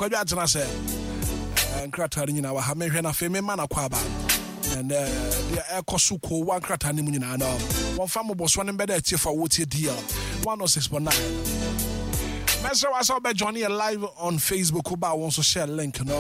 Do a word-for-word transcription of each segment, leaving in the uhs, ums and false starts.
Kwadwo atena sɛ nkrataa no nyinaa wɔ ha. Mehwɛ no afei mema no akɔ aba. And deɛ ɛkɔ so kowa nkrataa no mu nyinaa no, wɔmfa mmobɔsoɔ no mbɛda atiefo a wɔtie D L one oh six point nine. Mɛsrɛ wa sɛ wobɛjoin yɛ live on Facebook. Woba a, wo nso share link no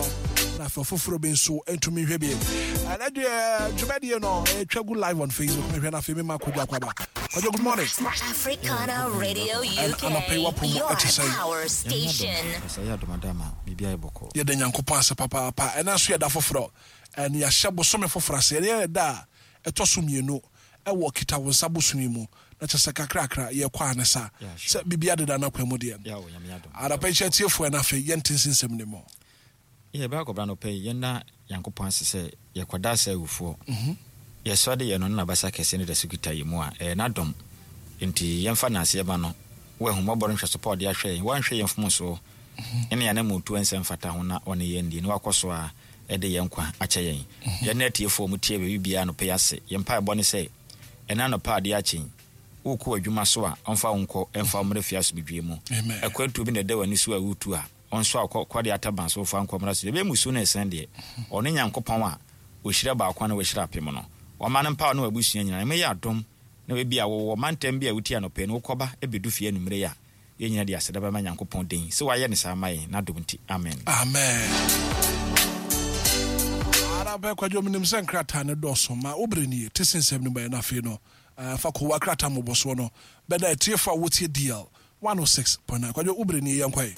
na afei ɔfoforɔ bi nso ntumi nhwɛ bi. Ɛnɛ deɛ dwumadie no ɛtwa gu live on Facebook. Mehwɛ no afei mema Kwadwo akɔ aba. Kwadwo, good morning. Africana Radio And anɔpa yi U K, wapɔ mu your ɛte sɛn? power station. Sɛ yɛ adomadama biribi ayɛ bɔkɔ. Yɛda Nyankopɔn ase papaapa. Ɛna nso yɛda foforɔ ɛne yɛahyɛ bosome foforɔ ase. Ɛne yɛ da a ɛtɔ so mmienu ɛwɔ kita wo nsa bosome mu na kyɛ sɛ kakrakra yɛkɔ ane sa Yeah, sure. sɛ biribia deda no akwan mu deɛ. Yɛ wɔ Nyame adom. Adapa yi kyɛ tiefoɔ, ɛna afei yɛnte nsensɛm ne mu. Yɛ bɛ akɔbra no pɛ yi, yɛnda Nyankopɔn ase sɛ yɛkɔda sɛ awufoɔ yɛsɔ de yɛ no ne nabasa kɛse no da so kita yɛ mu a ɛyɛ n'adɔm, nti yɛmfa nanseɛ ma no wɔ ahummɔbɔ no nhwɛso pa a ɔde ahwɛ yɛn. Wanhwɛ yɛn mfomsoɔ ɛne yɛn anammɔntuo nsɛm fata ho na ɔne yɛn die na wakɔ so a ɛde yɛn nkwa akyɛ yɛn. Yɛne atiefoɔ mu tie baabi biara no pɛ yi ase, yɛn mpaebɔ ne sɛ ɛna anɔpa adeɛ akye wokɔ adwuma so a, ɔmfa wo nkɔ, ɛmfa wo mmerɛ fie asomdwie mu. Amen. Akwantuo bi na ɛda w'ani so a wotu a, ɔnso a kɔ kɔde ataban so fa nkɔmmra so ɛbɛyɛ musuo no ɛsɛn deɛ ɔne Nyankopɔn a ɔhyira baako a na wahyira apem no, ɔma no mpa ne wabusua nyinaa ɛmɛ yɛ adom na baabi a wɔwɔ mantam bi a wotie anɔpɛ no wokɔba ɛbɛdu fie anummerɛ yi a, yɛn nyinaa de aseda bɛma Nyankopɔn den sɛ wayɛ ne saa ma yɛn n'adom nti. Amen. Amen. Adapɛ Kwadwo, menim sɛ nkrataa no dɔɔso ma woberɛ nie te sensɛm no bɛyɛ no afei no eh, fa kowa krataa mmobɔsoɔ no bɛda atiefo a wotie D L one oh six point nine. Kwadwo, woberɛ nie, yɛnkɔe.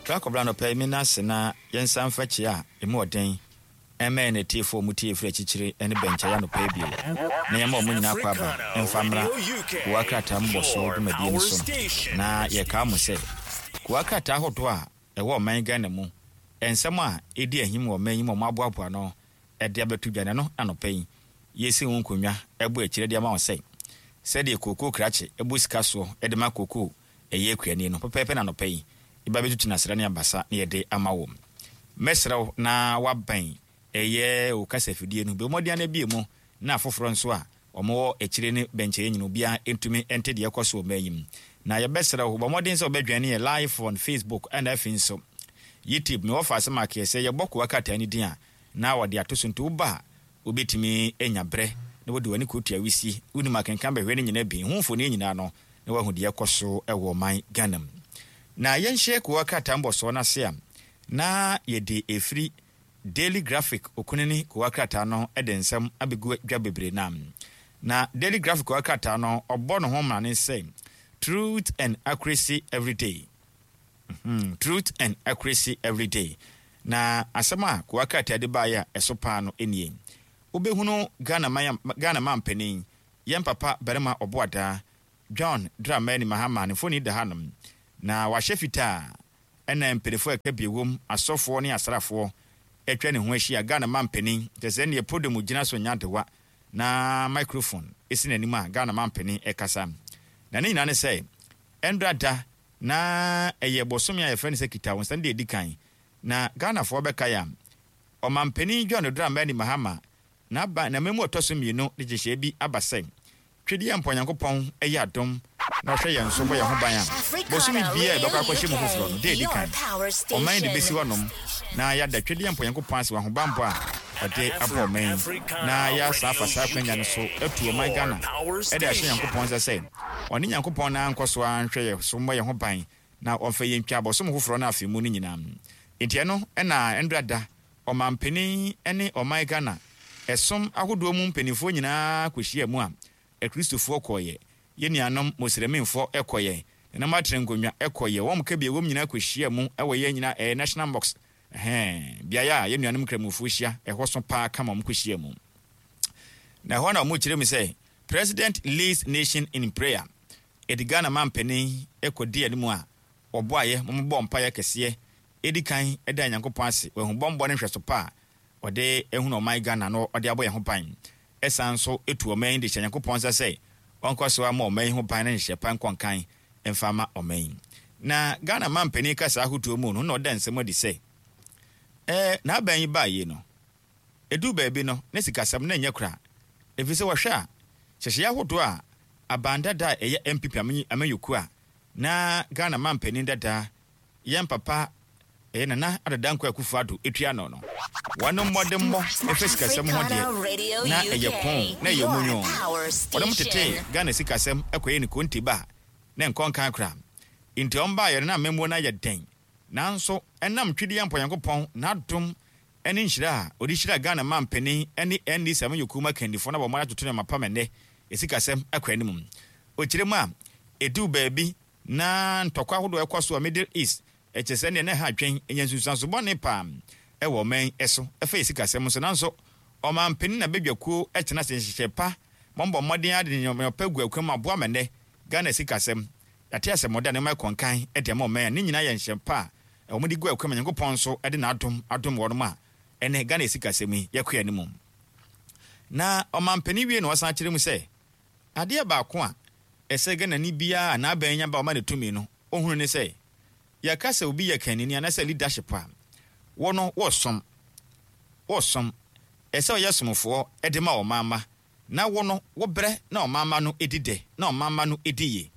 Bra anɔpɛ yi, mena ase na yɛnsa mfa kyia a ɛmu ɔden ɛma yɛn atiefoɔ mu tie firi akyirikyiri ne bɛnkyɛe anɔpɛ yi bio na yɛma ɔmo nyinaa kɔ aba ɛmfa mmra kowa krataa mbɔsoɔ dwumadie no so. Na yɛkaa mo sɛ kowa krataa ahodoɔ a ɛwɔ ɔman Ghana mu, nsɛm a ɛdi ahim wɔ ɔman yi mu a ɔmo aboaboa no ɛde abɛto dwa no anɔpɛ yi, yɛsi ho nkonnwa ɛbɔ akyire de ama wo sɛ sɛdeɛ kookoo krakye ɛbɔ sika soɔ ɛde ma kookoo ɛyɛ akuani no pɛpɛɛpɛ. Na anɔpɛ yi yɛba bɛtutu nasra ne abasa na yɛde ama wo. Mɛsrɛ wo na wabɛn ɛyɛ wo kasa afidie no bɛ mmɔden ana bie mu na afoforɔ nso a ɔmowɔ akyire ne bɛnkyɛeɛ nyina obiara ntumi nte deɛ ɛkɔ so wɔ mmaa yi mu. Na yɛbɛsrɛ wo, bɔ mmɔden sɛ wobɛdwane yɛ live on Facebook ɛna afei nso YouTube. Mewɔ fa asɛm akeɛ sɛ yɛbɔ kowa krataa no din a na wɔde ato so, nti woba a wobɛtumi anya berɛ na wode w'ani kɔtua wisi wonim akenkan bɛhwɛ no nyinaa bi ho mfoni nyinaa no na woahu deɛ ɛkɔ so ɛwɔ ɔman Ghana mu. Na yɛnhyɛ kowa krataa mbɔsoɔ no ase a, na yɛde ɛfiri Daily Graphic okunini kowa krataa no de nsɛm abɛgu dwa bebree. Nam na Daily Graphic kowa krataa no ɔbɔ ne ho mmrane sɛ "Truth and Accuracy Everyday". mm truth and Accuracy Everyday. Na asɛm a kowa krataa de baeɛ a ɛso paa no nie: wobɛhunu Ghana man, Ghana man panin, yɛn papa barima ɔboadaa John Dramani Mahama ne mfoni da hanom na wahyɛ fitaa, ɛna mpanimfoɔ a ɛka bi wom, asɔfoɔ ne asraafoɔ atwa ne ho ahyia. Ghana man panin kyerɛ sɛ neɛ podium gyina so nya adewa na microphone ɛsi n'anim a Ghana man panin ɛkasa. Na ne nyinaa ne sɛ ɛndra da na ɛyɛ bɔsome a yɛfrɛ no sɛ kita wo nsa no deɛ ɛdi kan na Ghanafoɔ bɛka yɛ a ɔmampanin John Dramani Mahama n'aba na mmamu ɔtɔ so mmienu de nhyehyɛeɛ bi aba sɛ twedeɛ mpa Onyankopɔn ɛyɛ adom na ɔhwɛ yɛn so bɔ yɛn ho ban a, bosome biara a yɛbɛkɔ akɔhyɛ mu foforɔ no, da ɛdi kan ɔman de bɛsi hɔnom na yɛada twedeɛ mpa Onyankopɔn ase wɔ ahobammɔ a ɔde abɔ ɔman yi, na yɛasa afa saa akwanya no so atu ɔman Ghana ɛde ahyɛ Nyankopɔn nsa sɛ ɔne Nyankopɔn na nkɔ so a nhwɛ yɛ so mmɔ yɛn ho ban na ɔmfa yɛn twa abɔsom foforɔ no afe mu no nyinaa. Nti ɛno ɛna ɛndra da ɔmampanin ne ɔman Ghana ɛsom ahodoɔ mu mpanimfoɔ nyinaa kɔhyia mu a, Akristofoɔ kɔɔyɛ, yɛn nuanom Muslimfoɔ ɛkɔyɛ, nananom atena nkonnwa ɛkɔyɛ, wɔn ka bi wɔm nyinaa kɔhyia mu ɛwɔ yɛn nyinaa ɛyɛ National Mosque, ɛhɛn beaeɛ a yɛn nuanom Nkramofoɔ hyia ɛhɔ so paa kama wɔn kɔhyia mu. Na ɛhɔ na wɔn kyerɛ mu sɛ "President leads nation in prayer". Ɛdi Ghana mampanin ɛkɔdi anim a ɔbɔ ayɛ wɔn bɔ mpaeɛ kɛseɛ ɛdi kan ɛda Nyankopɔn ase wɔahu bɔnbɔ ne nhwɛso pa a ɔde ehunu ɔman Ghana no ɔde abɔ yɛn ho ban, ɛsan nso etu ɔman yi de hyɛ Nyankopɔn nsa sɛ ɔnkɔ so ama ɔman yi ho ban ne nhyɛ pa nkɔnkan mfa ama ɔman yi. Na Ghana mampanin kasa ahodoɔ mu no na ɔda nsɛm adi sɛ ɛɛ n'aban yi baa yie no, edu baabi no ne sikasɛm na nyɛ kora Ɛfiri sɛ wɔhwɛ a, hyehyɛeɛ ahodoɔ a aban dada a ɛyɛ N P P amanyɔkuo a na Ghana mampanin dada yɛn papa ɛyɛ Nana Addo Dankwa Akufo-Addo etua no no wɔn mmɔdemmɔ ɛfɛ sikasɛm ho deɛ, na ɛyɛ kɔn na ɛyɛ munyo. Wɔn tete Ghana sikasɛm ɛkɔyɛ ne konti ba na nkɔnkan kora. Nti wɔn baayɛ no na mmɛmuo no ayɛ den, nanso ɛnam Twedeɛ Mpɔnyankopɔn n'adom ɛne nhyira a ɔde hyira Ghana mampanin ɛne N D C amanyɔkuo mu akandifoɔ na wɔn atoto nneɛma pam, ɛnɛ esikasɛm akɔ anim. Ɔkyerɛ mu a, ɛduu baabi na ntɔkwa ahodoɔ ɛkɔ so wɔ Middle East, ɛkyɛ sɛ neɛ na ɛha adwen, ɛnya nsunsuanso bɔne paa ɛwɔ ɔman ɛso ɛfɛ yɛ sikasɛm nso. Nanso ɔmampanin na badwakuo ɛtena ase nhyehyɛ pa, mɔmbɔ mmɔden ade nneɛma pa gu akwan mu aboa ma nnɛ Ghana sikasɛm yɛate asɛmɔda nneɛma ɛkɔnkan ɛde ama ɔman a ne nyinaa yɛ nhyɛ pa a wɔn de gu akwan mu. Nyankopɔn nso ɛde n'adom adom wɔn a ɛnɛ Ghana sikasɛm yi yɛkɔ anim. Na ɔmampanin wie na ɔsan kyerɛ mu sɛ adeɛ baako a ɛsɛ Ghana ni biara n'abɛn nya ba ɔma ne tumi no ohunu ne sɛ yɛka sɛ obi yɛ kanini anaasɛ leadership a wɔno wɔsom wɔsom ɛsɛ ɔyɛ somfoɔ ɛde ma ɔman na wo no wobrɛ na ɔman no edi dɛ na ɔman no edi yie.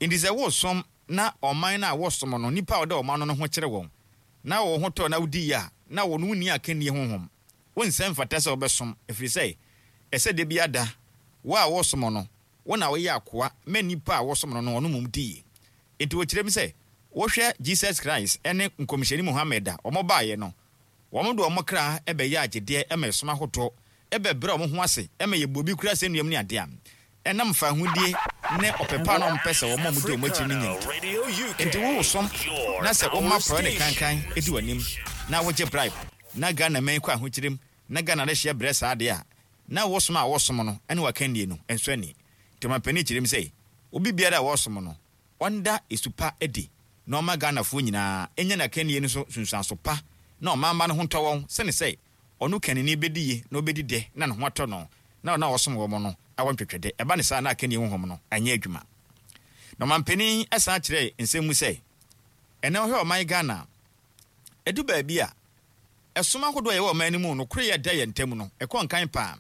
Nti sɛ wosom na ɔman no a wɔsom no, nipa a ɔda ɔman no ho kyerɛ wɔn na wɔn ho tɔ na wodi yie a, na wɔn wonni akannie honhom, wonsɛ mfata sɛ wɔbɛsom, ɛfiri sɛ ɛsɛ de bi ada wo a wɔsom no, wo na woyɛ akoa ma nipa a wɔsom no no ɔno mum di yie. Nti wɔkyerɛ mu sɛ wohwɛ Jesus Christ ɛne nkɔmhyɛni Muhammed a wɔn baeɛ no, wɔn de wɔn kra ɛbɛyɛ agyedeɛ ɛma ɛsom ahodoɔ, ɛbɛbrɛ wɔn ho ase ɛma yɛ bobi kura sɛ nnuam ne adeɛ a ɛnam fa ahodie ne ɔpɛpa na ɔmpɛ sɛ wɔn a wɔdi wɔn akyi no nya. Nti wosom na sɛ woma prɔɛ ne kankan di w'anim na wogye bribe na Ghana man kɔ ahokyerem na Ghana de hyɛ brɛ saa adeɛ a na wosom a wosom no ɛne wakannie no nso ani. Nti ɔmampanin kyerɛ mu sɛ obi biara a wɔsom no, ɔnda esu pa adi na ɔma Ghanafoɔ nyinaa ɛnya n'akannie no so sunsuanso pa na ɔmamba no ho ntɔ wɔn, sɛne sɛ ɔno kanini bɛdi yie na ɔbɛdi dɛ na ne ho atɔ no na ɔno a wɔsom wɔn no awɔ ntwetwɛdɛ. Ɛba ne saa na akannie honhom no anyɛ adwuma. Na ɔmampanin ɛsan kyerɛ nsɛm mu sɛ ɛnɛ ɔhwɛ ɔman Ghana, ɛdu baabi a ɛsom ahodoɔ a yɛwɔ ɔman no mu no koro yɛ da yɛn ntam no ɛkɔ nkan paa.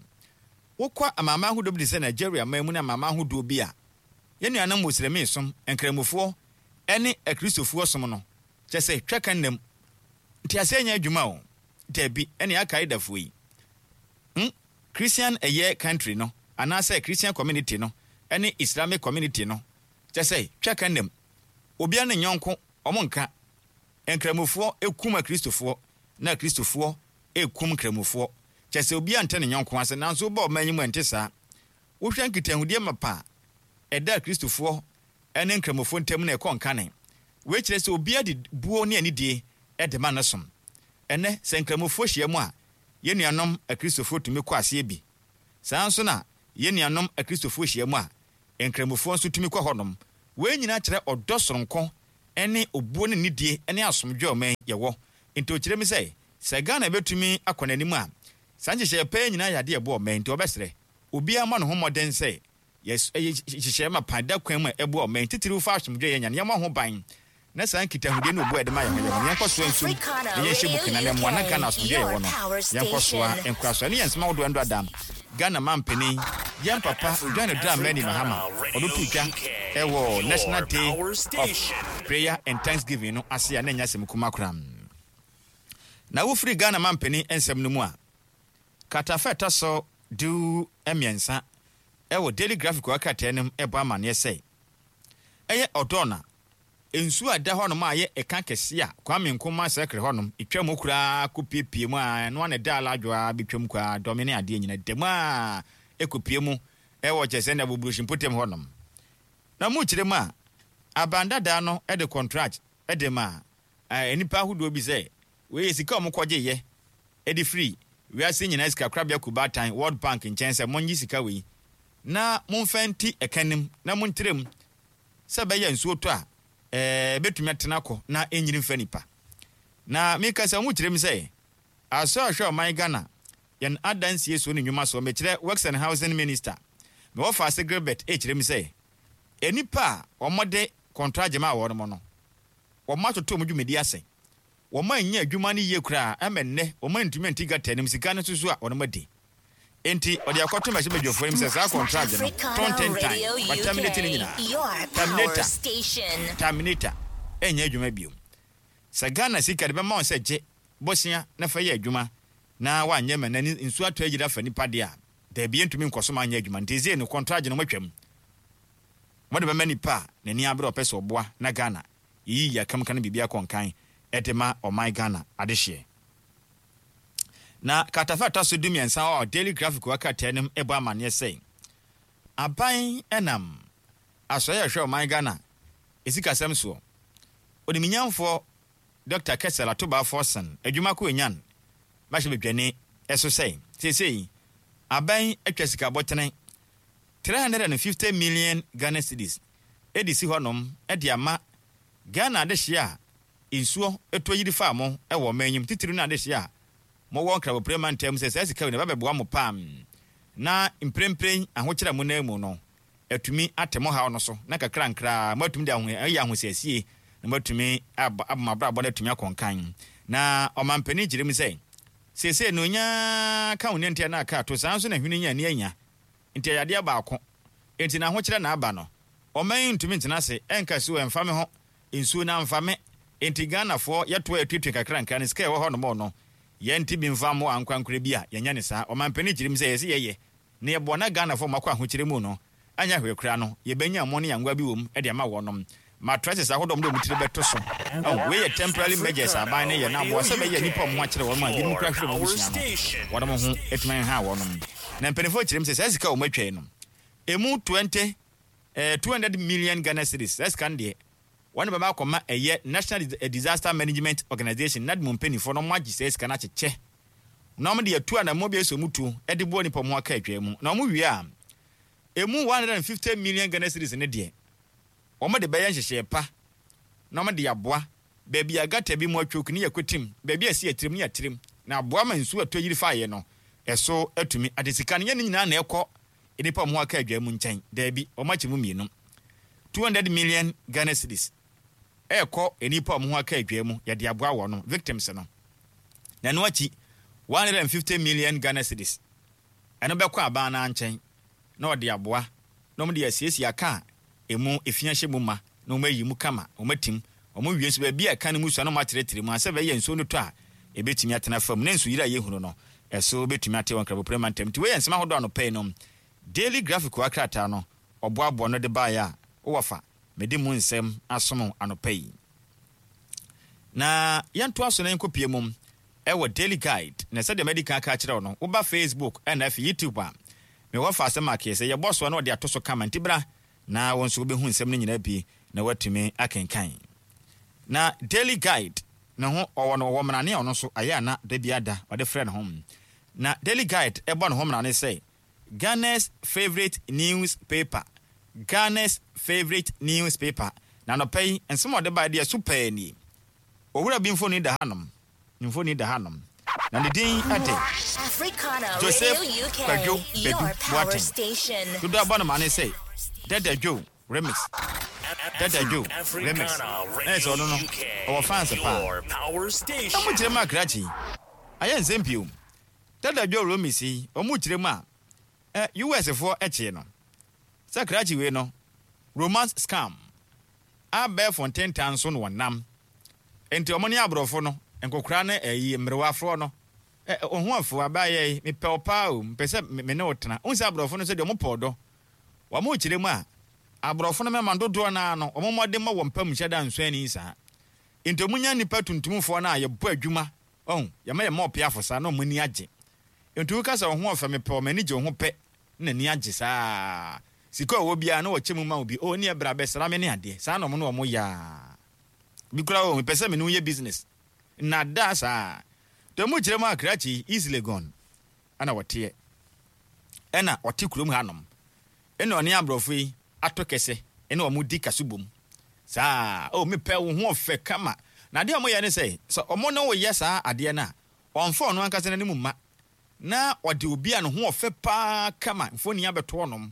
Wokɔ amanaman ahodoɔ bi te sɛ Nigeria man mu ne amanaman ahodoɔ bi a yɛn nuanom Muslimi som, Nkramofoɔ ɛne Akristofoɔ som no, kyɛ sɛ twa ka nnam nti aseɛ nyɛ adwuma o. Dabi, ɛne Al-Qaedafoɔ yi, hmm? Christian ɛyɛ country no anaasɛ Christian community no ɛne Islamic community no, kyɛ sɛ twa ka nnam, obiara ne nyɔnko ɔmo nka. Nkramofoɔ ekum Akristofoɔ na Akristofoɔ ekum Nkramofoɔ, kyɛ sɛ obiara nte ne nyɔnko ase. Nanso wobɔ ɔman yi mu, ɛnte saa. Wohwɛ nkitahodie mapa a ɛda Akristofoɔ ɛne Nkramofoɔ ntam na ɛkɔ nkane. Wei kyerɛ sɛ obiara de buo ne anidie ɛde ma no som. Ɛnɛ sɛ Nkramofoɔ hyia mu a, yɛn nuanom Akristofoɔ tumi kɔ aseɛ bi. Saa nso na yɛn nuanom Akristofoɔ hyia mu a, Nkramofoɔ nso tumi kɔ hɔnom. Wei nyinaa kyerɛ ɔdɔ soronko ɛne obuo ne nidie ne asomdwe a ɔman yɛwɔ. Nti ɔkyerɛ mi sɛ sɛ Ghana bɛtumi akɔ n'anim a, saa nhyehyɛeɛ pɛɛ nyinaa yɛ adeɛ ɛboɔ ɔman. Nti ɔbɛsrɛ obiara ma ne ho mmɔden sɛ yɛ nhyehyɛeɛ ma pan da kwan mu a ɛboa ɔman, titiriw fa asomdwe yɛ nya no, yɛmmɔ ho ban na saa nkitahodie ne obu a yɛde ma yɛn ho yɛn ho yɛnkɔ soa nsum na yɛnhyɛ mu kena na mmoa na Ghana asomdwe yɛwɔ no yɛnkɔ soa nkora so. Ɛne yɛn nsɛm ahodoɔ ɛndo adam Ghana mampanin yɛn papa John Dramani Mahama ɔno to dwa ɛwɔ National Day of Prayer and Thanksgiving no ase a na ɛnyɛ asɛm kuma koraa. Na wofiri Ghana mampanin nsɛm no mu a, katafa ɛtɔ so du mmiɛnsa ɛwɔ Daily Graphic wɔ krataa no mu ɛbɔ amanneɛ sɛ ɛyɛ ɔdɔɔ na nsuo a ɛda hɔnom a yɛ ɛka kɛse a Kwame Nkrumah Circle hɔnom etwa mu koraa kɔpiepie mu a ɛno ana ɛda aladwo a bɛtwam koraa dɔme ne adeɛ nyina da mu a ɛkɔpie mu ɛwɔ kyɛ sɛ na Buburuhyi mpotam hɔnom. Na mu kyerɛ mu a, aban dadaa no de contract de ma nnipa ahodoɔ bi sɛ wei yɛ sika a wɔkɔgyeeɛ de firi wiase nyinaa sikakorabea kubaatan World Bank nkyɛn sɛ monnye sika wei na momfa nti ɛka nim na montrɛ mu sɛ ɛbɛyɛ nsuo tɔ a ɛɛ bɛtumi atena kɔ na ɛnyini mfa nipa. Na meka sɛ ɔmo kyerɛ mu sɛ asɔ ahwɛ ɔman Ghana yɛn adansie so ne nnwuma so, mekyerɛ Works and Housing Minister mewɔ faase Gilbert, ɛkyerɛ mu sɛ nnipa a wɔde contract ma wɔn no, wɔn atoto wɔn dwumadi ase, wɔn anya adwuma no yie koraa, ɛmɛ nnɛ wɔn antumi anti gutter anim sika no nso so a wɔn adi. Enti ɔde akɔto mmarahyɛbadwafoɔ anim sɛ saa contract no Africana tontentan Radio waterminate ne U K, nyinaa. your power Terminator. station. Terminator ɛnyɛ adwuma bio. Sɛ Ghana sika de bɛma wɔn sɛ gye bosea na fa yɛ adwuma na wanyɛ ma n'ani nsuo atɔ agyina fa nipa deɛ a, daabi, yɛntumi nkɔ so ma anyɛ adwuma. Nti ɛsei no contract no moatwam, mode bɛma nipa a n'ani abere ɔpɛ sɛ ɔboa na Ghana yɛyi yɛakamka no biribi akɔ nkan ɛde ma ɔman Ghana adehyeɛ. Na katafa ɛtɔ so dumiɛnsa a Daily Graphic wɔ krataa no mu ɛbɔ amanneɛ sɛ aban ɛnam asɔeɛ a ɛhwɛ ɔman Ghana esikasɛm soɔ, oniminyamfoɔ Doctor Cassiel Ato Baah Forson adwuma ko enyan mmarahyɛbadwani ɛso sɛ seesei aban atwa sika bɔtene three hundred and fifty million Ghana cedis ɛde si hɔnom ɛde ama Ghana adehyeɛ a nsuo ɛtɔ yiri fa mo ɛwɔ ɔman enyim, titiri no adehyeɛ a mowɔ Nkrabopre mantam, sɛ saa sika wei na ɛbɛbɛboa mo pam na mprempren ahokyerɛ a mo nan mu no atumi ate mo haw no so na kakra nkraa moatumi de aho ɛyɛ ahosiesie na moatumi aba abɔ mo abrabɔ no atumi akɔnkan. Na ɔmampanin kyerɛ mu sɛ seesei no onyaa ka wo ne ntia na aka ato saa nso na hwene nya ani anya nti ɛyɛ adeɛ baako nti na ahokyerɛ na aba no, ɔman yi ntumi ntena ase ɛnka so ɛmfa me ho nsuo na amfa me. Nti Ghanafoɔ yɛtoa yɛtuatua kakra nkra no sika ɛwɔ hɔ nom no yɛnte bi mfa mmoa ankorankora bi a yɛnyɛ ne saa. Ɔmampanin kyerɛ mu sɛ yɛsɛ yɛyɛ na yɛboa na Ghanafoɔ makɔ ahokyerɛ mu no anya hwee koraa no yɛbɛnya mo ne yangoa bi wɔ mu de ama wɔnom mattresses ahodoɔ mo de wɔn tiri bɛto so. Oh, wei yɛ temporary measures aban ne yɛ na aboa sɛ bɛyɛ nnipa ɔmo ho akyerɛ wɔn a binom kora hwere wɔn abusua no wɔn ho atumi ha wɔnom. Na mpanimfoɔ kyerɛ mu sɛ saa sika a wɔn atwa yi no emu twenty eh, two hundred million Ghana cedis, saa sika no deɛ wɔn bɛba akɔma ɛyɛ National Disaster Management Organization, NADMO mpanimfoɔ, na wɔn agye saa sika no akyekyɛ na wɔn de atu anamɔ bi esi wɔn tu de boa nipa wɔn aka atwa mu. Na wɔn wie a, emu one hundred and fifty million Ghana cedis ne deɛ wɔn de bɛyɛ nhyehyɛe pa na wɔn de aboa baabi a gutter bi mu atwoku ne yɛ kotim, baabi a esi atirim ne yɛ atirim, na aboa ma nsuo atɔ yiri fa yɛ no ɛso atumi ade. Sika no yɛ ne nyinaa na ɛkɔ nipa wɔn aka adwa mu nkyɛn. Daabi, wɔn akyɛ mu mmienu. Two hundred million Ghana cedis ɛɛkɔ nipa wɔn ho aka adwa mu, yɛde aboa wɔn victims no, na ɛno akyi one hundred and fifty million Ghana cedis ɛno bɛkɔ aban no nkyɛn na ɔde aboa na wɔn de asiesie aka a emu efi ahyɛ mu ma na wɔn ayi mu kama, wɔn atim wɔn wie nso baabi a ɛka no mu sua na wɔn atrɛtrɛ mu asɛ bɛyɛ nsuo no tɔ a ebetumi atena fam na nsu yiri a yɛhunu no ɛso betumi ate wɔn Nkrabopre mantam. Nti wɔyɛ nsɛm ahodoɔ anɔpɛ yi no Daily Graphic wɔ krataa no ɔboaboa no de baeɛ a wowɔ fa mede mu nsɛm asom anɔpɛ yi. Na yɛntoa so na yɛnkɔpie mu ɛwɔ Daily Guide. Na sɛdeɛ madi kan ka kyerɛ wo no, woba Facebook ɛna afei YouTube a mewɔ fa asɛm akeɛ sɛ yɛbɔ soa na ɔde ato so kama. Nti bra na wo nso wobɛhu nsɛm no nyinaa bi na woatumi akenkan. Na Daily Guide ne ho ɔwɔ no ɔwɔ mmarane a ɔno nso ayɛ ana da bi ada ɔde frɛ ne ho. Na Daily Guide ɛbɔ ne ho mmarane sɛ Ghana's favourite newspaper, Ghana's favourite newspaper. Na nɔpɛ yi nsɛm a ɔde baa deɛ so pɛɛ nie. Owura bi mfoni da hanom, ne mfoni da hanom na ne din ɛde Africana Joseph Radio U K, Kwadwo your Badu power Boateng. station. Dodo abɔ no ma ne sɛ Dada Joe Remix, Dada Joe Remix. Ɛyɛ sɛ ɔno no ɔwɔ fans paa. Your power station. Na mo kyerɛ mu akrakye ayɛ nsɛm pii o. Dada Joe Remix yi, ɔmo kyerɛ mu a ɛ U S foɔ ɛkyee no sɛ krakye wei no romance scam abɛɛfo ntentan so na wɔnam. Nti ɔmo ne aborɔfo no nkokora ne ɛyi mmerewafoɔ no ɛ ɔho afo abaayɛ yi, mepɛ wo paa o, mepɛ sɛ me me ne wo tena. Wohu sɛ aborɔfo no sɛ deɛ ɔmo pɛ ɔdɔ. Wɔn kyerɛ mu a aborɔfo no mɛma dodoɔ naa no ɔmo mmɔden ma wɔn mpam nhyɛ da nso ani saa. Nti ɔmo nya nipa tuntumfoɔ no a yɛbɔ adwuma ɔho yɛma yɛ ma ɔpeafo saa na ɔmo ani agye. Nti woka sɛ ɔho ɔfɛ, mepɛ ɔmo ani gye wo ho pɛ na ani agye saa. Sika a ɔwɔ biara na wɔkyɛ mu ma wo bi o ne ɛbra bɛsra me ne adeɛ saa na ɔmo ne ɔmo yaa bi kura o, mepɛ sɛ me ne wo yɛ business nada saa. Nti ɔmo kyerɛ mu akrakye East Legon ɛna wɔteɛ ɛna ɔte kurom hanom ɛna ɔne aborɔfo yi ato kɛsɛ ɛna ɔmo di kaso bom saa o, mepɛ wo ho ɔfɛ kama. Na adeɛ a ɔmo yɛ ne sɛ sɛ ɔmo ne wo yɛ saa adeɛ no a, ɔmfa ɔno ankasa n'anim mma na ɔde obi a ne ho ɔfɛ paa kama mfoni abɛto ɔnom.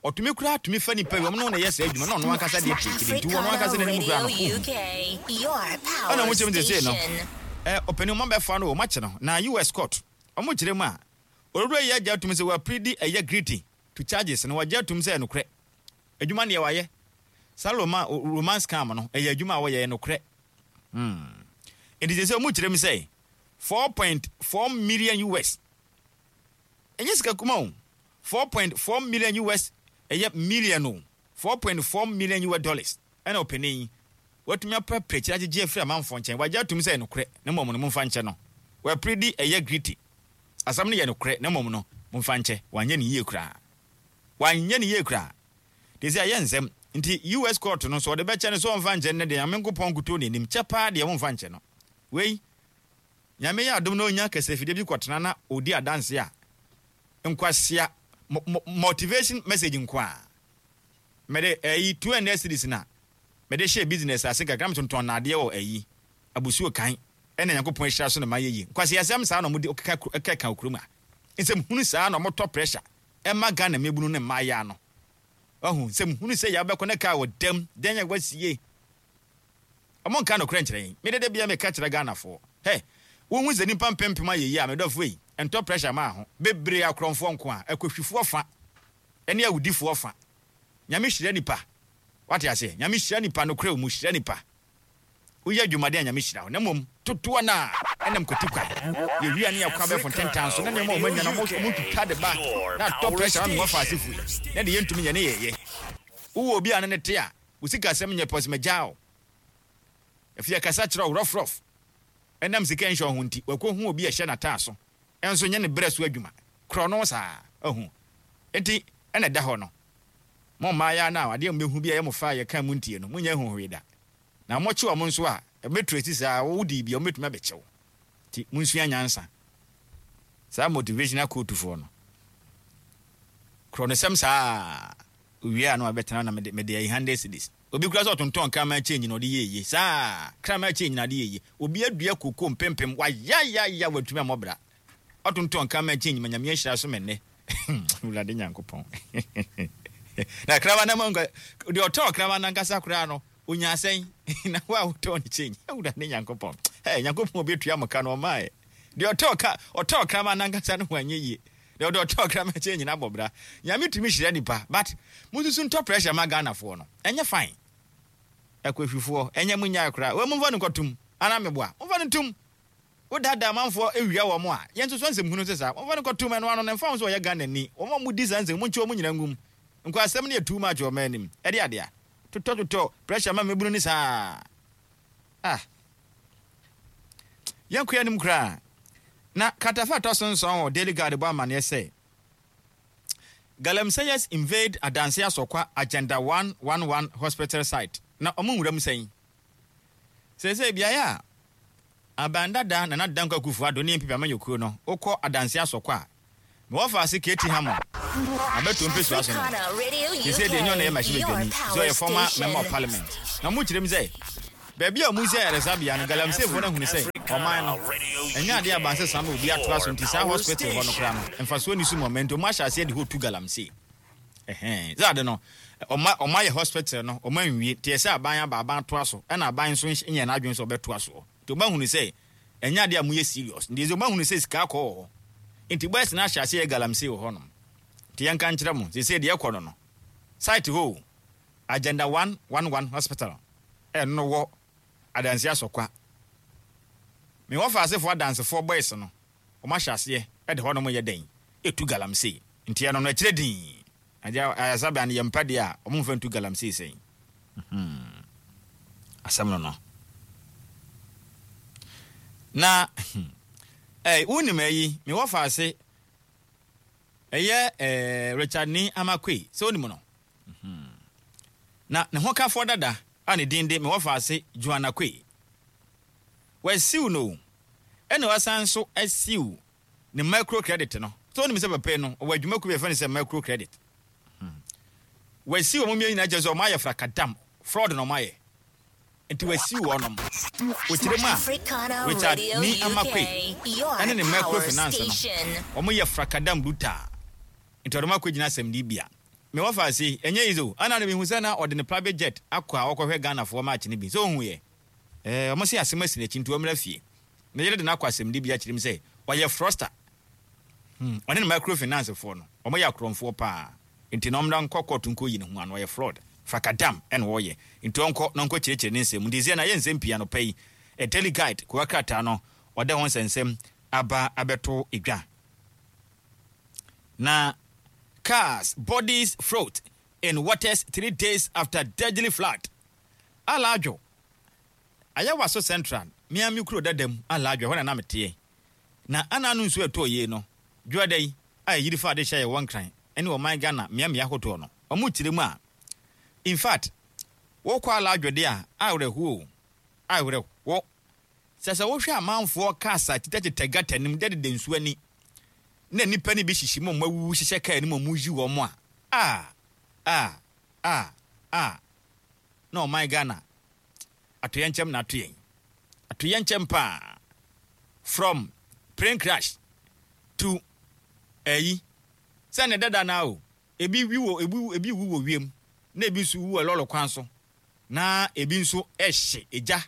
Ɔtumi koraa tumi fa nipa bi ɔmo ne wo na ɛyɛ saa adwuma na ɔno ankasa deɛ kyerɛkyerɛ nti ɔno ankasa Africana n'anim koraa no Radio ohu. U K, your Ɛna power ɔmo kyerɛ mu sesei no station. ɛ ɔpanin ɔmo abɛfa no, ɔmo akye no na U S court ɔmo kyerɛ mu a Owura yi agye atum sɛ waplead ɛyɛ guilty to charges no. Wagye atum sɛ ɛnokorɛ, adwuma neɛ wayɛ saa roma romance scam no, ɛyɛ adwuma a wɔyɛ nokorɛ. hmm. Nti sɛ sɛ ɔmu kyerɛ mu sɛ four point four million U S, ɛnyɛ sika kuma o, four point four million U S, ɛyɛ million o, four point four million U S dollars ɛna ɔpanin yi watumi apɛpɛ kyerɛ agyegye afiri amanfoɔ nkyɛn. Wagye atum sɛ ɛnokorɛ, na mmom no momfa nkyɛ no. Waplead ɛyɛ guilty, asɛm no yɛ nokorɛ, na mmom no momfa nkyɛ, wanyɛ ne yie koraa, wanyɛ ne yie koraa de sɛ ɛyɛ nsɛm. Nti U S court no so ɔde bɛkyɛ no so ɔmfa nkyɛ no deɛ, Nyame nkopɔn nkuto n'anim kyɛ paa deɛ, momfa nkyɛ no. Wei Nyame yɛ adom na onya kasafidie bi kɔtena na ɔdi adanse a, nkwasia motivation message nko a mɛde ɛyi two hundred cedis na mɛde hyɛ business ase kakra, metontɔn naadeɛ wɔ ɛyi abusuo kan, ɛna Nyankopɔn ahyira so na ma yɛ yie. Nkwasi asɛm saa na ɔmo de ɔkeka ɛkeka kurom a nsɛm hunu saa na ɔmo tɔ pressure ɛma Ghana mmabunu ne mmaayea no. Ɔho nsɛm hunu sɛ yɛabɛkɔ ne kaa wɔ dɛm dɛn yɛ wasie, ɔmo nka nokorɛ nkyerɛ yɛn. Mede de bia meka kyerɛ Ghanafoɔ hɛ, wohu sɛ nipa mpempem ayɛ yie a, medɔfoɔ yi ɛntɔ pressure maa ho bebree, akorɔmfoɔ nko a ɛkɔhwifoɔ fa ɛne awudifoɔ fa. Nyame hyira nipa, wate aseɛ? Nyame hyira nipa nokorɛ wɔ mu, hyira nipa, woyɛ adwumaden a, Nyame hyira wo. Na mmom totoɔ no a ɛnam kɔti kwan yɛwia ne yɛkɔ abɛfo ntentan so na nneɛma a ɔmanya no, ɔmo twitwa de ba na atɔ pressure ma mewɔ fa asefo yi na de yɛntumi nyɛ ne yɛyɛ. Wowɔ obi a ne ne te a, wo sikasɛm nyɛ pɔs, magyaa wo afei akasa kyerɛ wo rɔfrɔf, ɛnam sika nhyɛ ho nti wakɔhu obi a ɛhyɛ n'ataa so, ɛnso nyɛ ne berɛ so adwuma korɔ no saa ahu. Nti ɛna ɛda hɔ no, mo mmaayɛ no a adeɛ mbɛhu bi a ɛyɛ mo fa a yɛka mu ntie no, monyɛ huhwee da na mɔkye wɔn nso a ɛbɛturo esi saa wodi bi a wɔbɛtumi abɛkyɛw. Nti monsua nyansa. Saa motivational quotefoɔ no korɔ no sɛm saa owie a na wabɛtena na mede mede ayi hundred cedis. Obi kura sɛ ɔtontɔn kraman change na ɔde yɛ yie saa kraman change na ɔde yɛ yie. Obi adua koko mpempem wayayaya, watumi amɔbra ɔtontɔn kraman change ma Nyame ahyira so. Mɛnɛ Wurade Nyankopɔn na kraman na ma nka deɛ ɔtɔn kraman nankasa koraa no onya asɛn na wo a wotɔn ne change. Wurade Nyankopɔn, ɛ Nyankopɔn obi atua mo ka no ɔmaa deɛ ɔtɔn ka ɔtɔn kraman nankasa no ho anyɛ yie, deɛ ɔde ɔtɔn kraman change na abɔ bra. Nyame tumi hyira nipa, but mususu ntɔ pressure ma Ghanafoɔ no, ɛnyɛ fine. Ɛkɔhwifoɔ ɛnyɛ mu nyaa koraa wɔn mfa no nkɔtum ana meboa mfa no ntum. Wodaadaa amanfoɔ ewia wɔn a yɛn nso so nsɛm hunu sɛ saa wɔmfa no nkɔtum. Ɛno ano no mfa ho sɛ ɔyɛ Ghana ni, wɔn a wɔdi saa nsɛm mu nkye wɔn nyinaa ngum. Nkɔ asɛm no yɛ too much wɔ ɔman anim. Ɛde adeɛ totɔ totɔ pressure ma mmabunu ne saa. Ah, yɛnkɔ anim koraa na katafa atɔ so nson wɔ Daily Guide bɔ amanneɛ sɛ galamseyers invade Adanse Asɔkwa Agenda one one one hospital site. Na ɔmo nwura mu sɛn sɛsɛ beaeɛ a aban dada Nana Dankwa Akufo Addo ne N P P amanyɔkuo no, wokɔ Adanse Asɔkwa a mewɔ ase K T Hammond abɛto mpɛsua so no, sɛsɛ deɛ ɛnyɛ ɔna yɛ mmarahyɛbadwani sɛ ɔyɛ former member of parliament. Na ɔmo kyerɛ mu sɛ baabi a ɔmo si ayaresabea no, galamseyfoɔ no ahunu sɛ ɔman no ɛnyɛ adeɛ abansɛ saa ma obi atoa so. Nti saa hospital hɔ no koraa no mfasoɔ ni so ma ɔman, nti ɔmo ahyɛ aseɛ de hɔ tu galamsey. Ɛhɛn sɛ ade no ɔma ɔma yɛ hospital no ɔma nwie nti ɛsɛ aban aba, aban atoa so, ɛna aban nso nyɛ n'adwene sɛ ɔbɛtoa soɔ. Nti ɔma hunu sɛ ɛnyɛ adeɛ a moyɛ serious, nti sɛ ɔma hunu sɛ sika akɔ wɔ hɔ, nti boys no ahyɛ aseɛ yɛ galamsey wɔ hɔnom. Nti yɛnka nkyerɛ mo sɛ deɛ ɛkɔ no no site hɔ Agenda one one one hospital ɛno wɔ Adansi Asɔkwa, mewɔ faasefoɔ adansefoɔ boys no wɔn ahyɛ aseɛ ɛde hɔnom yɛ dɛn etu galamsey. Nti ɛno no akyerɛ din agya ayasabea no yɛ mpa deɛ a wɔn mfa ntu galamsey sɛn. Asɛm no no na ɛɛ wunim ayi mewɔ faase ɛyɛ ɛɛ Richard Nii Armah Quaye sɛ onim no na ne ho kafoɔ dada a ne din de mewɔ faase Joanna Quaye, wasue no, ɛna wasan nso asue ne micro credit no. Sɛ onim sɛ papa yi no ɔwɔ adwumakuo bi a yɛfrɛ no sɛ micro credit, wasue wɔn mmienu nyinaa kyerɛ sɛ wɔn ayɛ frakadam fraud na wɔn ayɛ, nti wasue wɔnom. Wɔkyerɛ mu a, Richard Nii Armah Quaye ɛne ne micro finance no, wɔn yɛ frakadam brutal, nti ɔde wɔn akɔ gyina asɛmdi bia. Mewɔ fa ase ɛnyɛ easy o. Ɛna no mehu sɛ na ɔde ne private jet akɔ a ɔkɔhwɛ Ghanafoɔ match no bi sɛ ohu yɛ ɛɛ ɔmo se asɛm asi n'akyi, nti ɔmmra fie. Ne yere de no akɔ asɛmdi bia kyerɛ mu sɛ ɔyɛ fraudster. Hmm, ɔne ne microfinance foɔ no, ɔmo yɛ akorɔmfoɔ paa. Nti na ɔmmra nkɔ court nkɔ yi ne ho ano. Ɔyɛ fraud frakadam ɛna wɔyɛ, nti ɔnkɔ na ɔnkɔ kyerɛkyerɛ ne nsɛm. Nti sɛ na yɛ nsɛm pii anɔpa yi, a Daily Guide kowa krataa no ɔda ho nsɛnsɛm aba abɛto edwa. Na cars bodies float in waters three days after deadly flood. Alaadwo Ayawaso Central, miami kuro dada mu Alaadwo, ɛhɔ na nam teɛ na ana no nsuo ɛtɔɔ yie no dwoada yi a ɛyiri fa ade hyɛ yɛ wɔ Nkran ne ɔman Ghana mmeammea ahodoɔ no. Ɔmo kyerɛ mu a, in fact, wokɔ Alaadwo de a, awerɛhoɔ awerɛho sɛ sɛ wohwɛ amanfoɔ cars a tetɛtetɛ gutter nim dɛdeda nsuo ani na nnipa no bi hyehyɛ mu a, ɔmo awuwu hyehyɛ kaa no mu a, ɔmo yi wɔn a a a a a na ɔman Ghana atoyɛnkyɛm na ato yɛn atoyɛnkyɛm paa. From plane crash to ɛyi sɛ ne dada na o, ebi wi wɔ ebi ebi wu wɔ wiem, na ebi nso wu wɔ lɔɔre kwan so, na ebi nso ɛhye egya,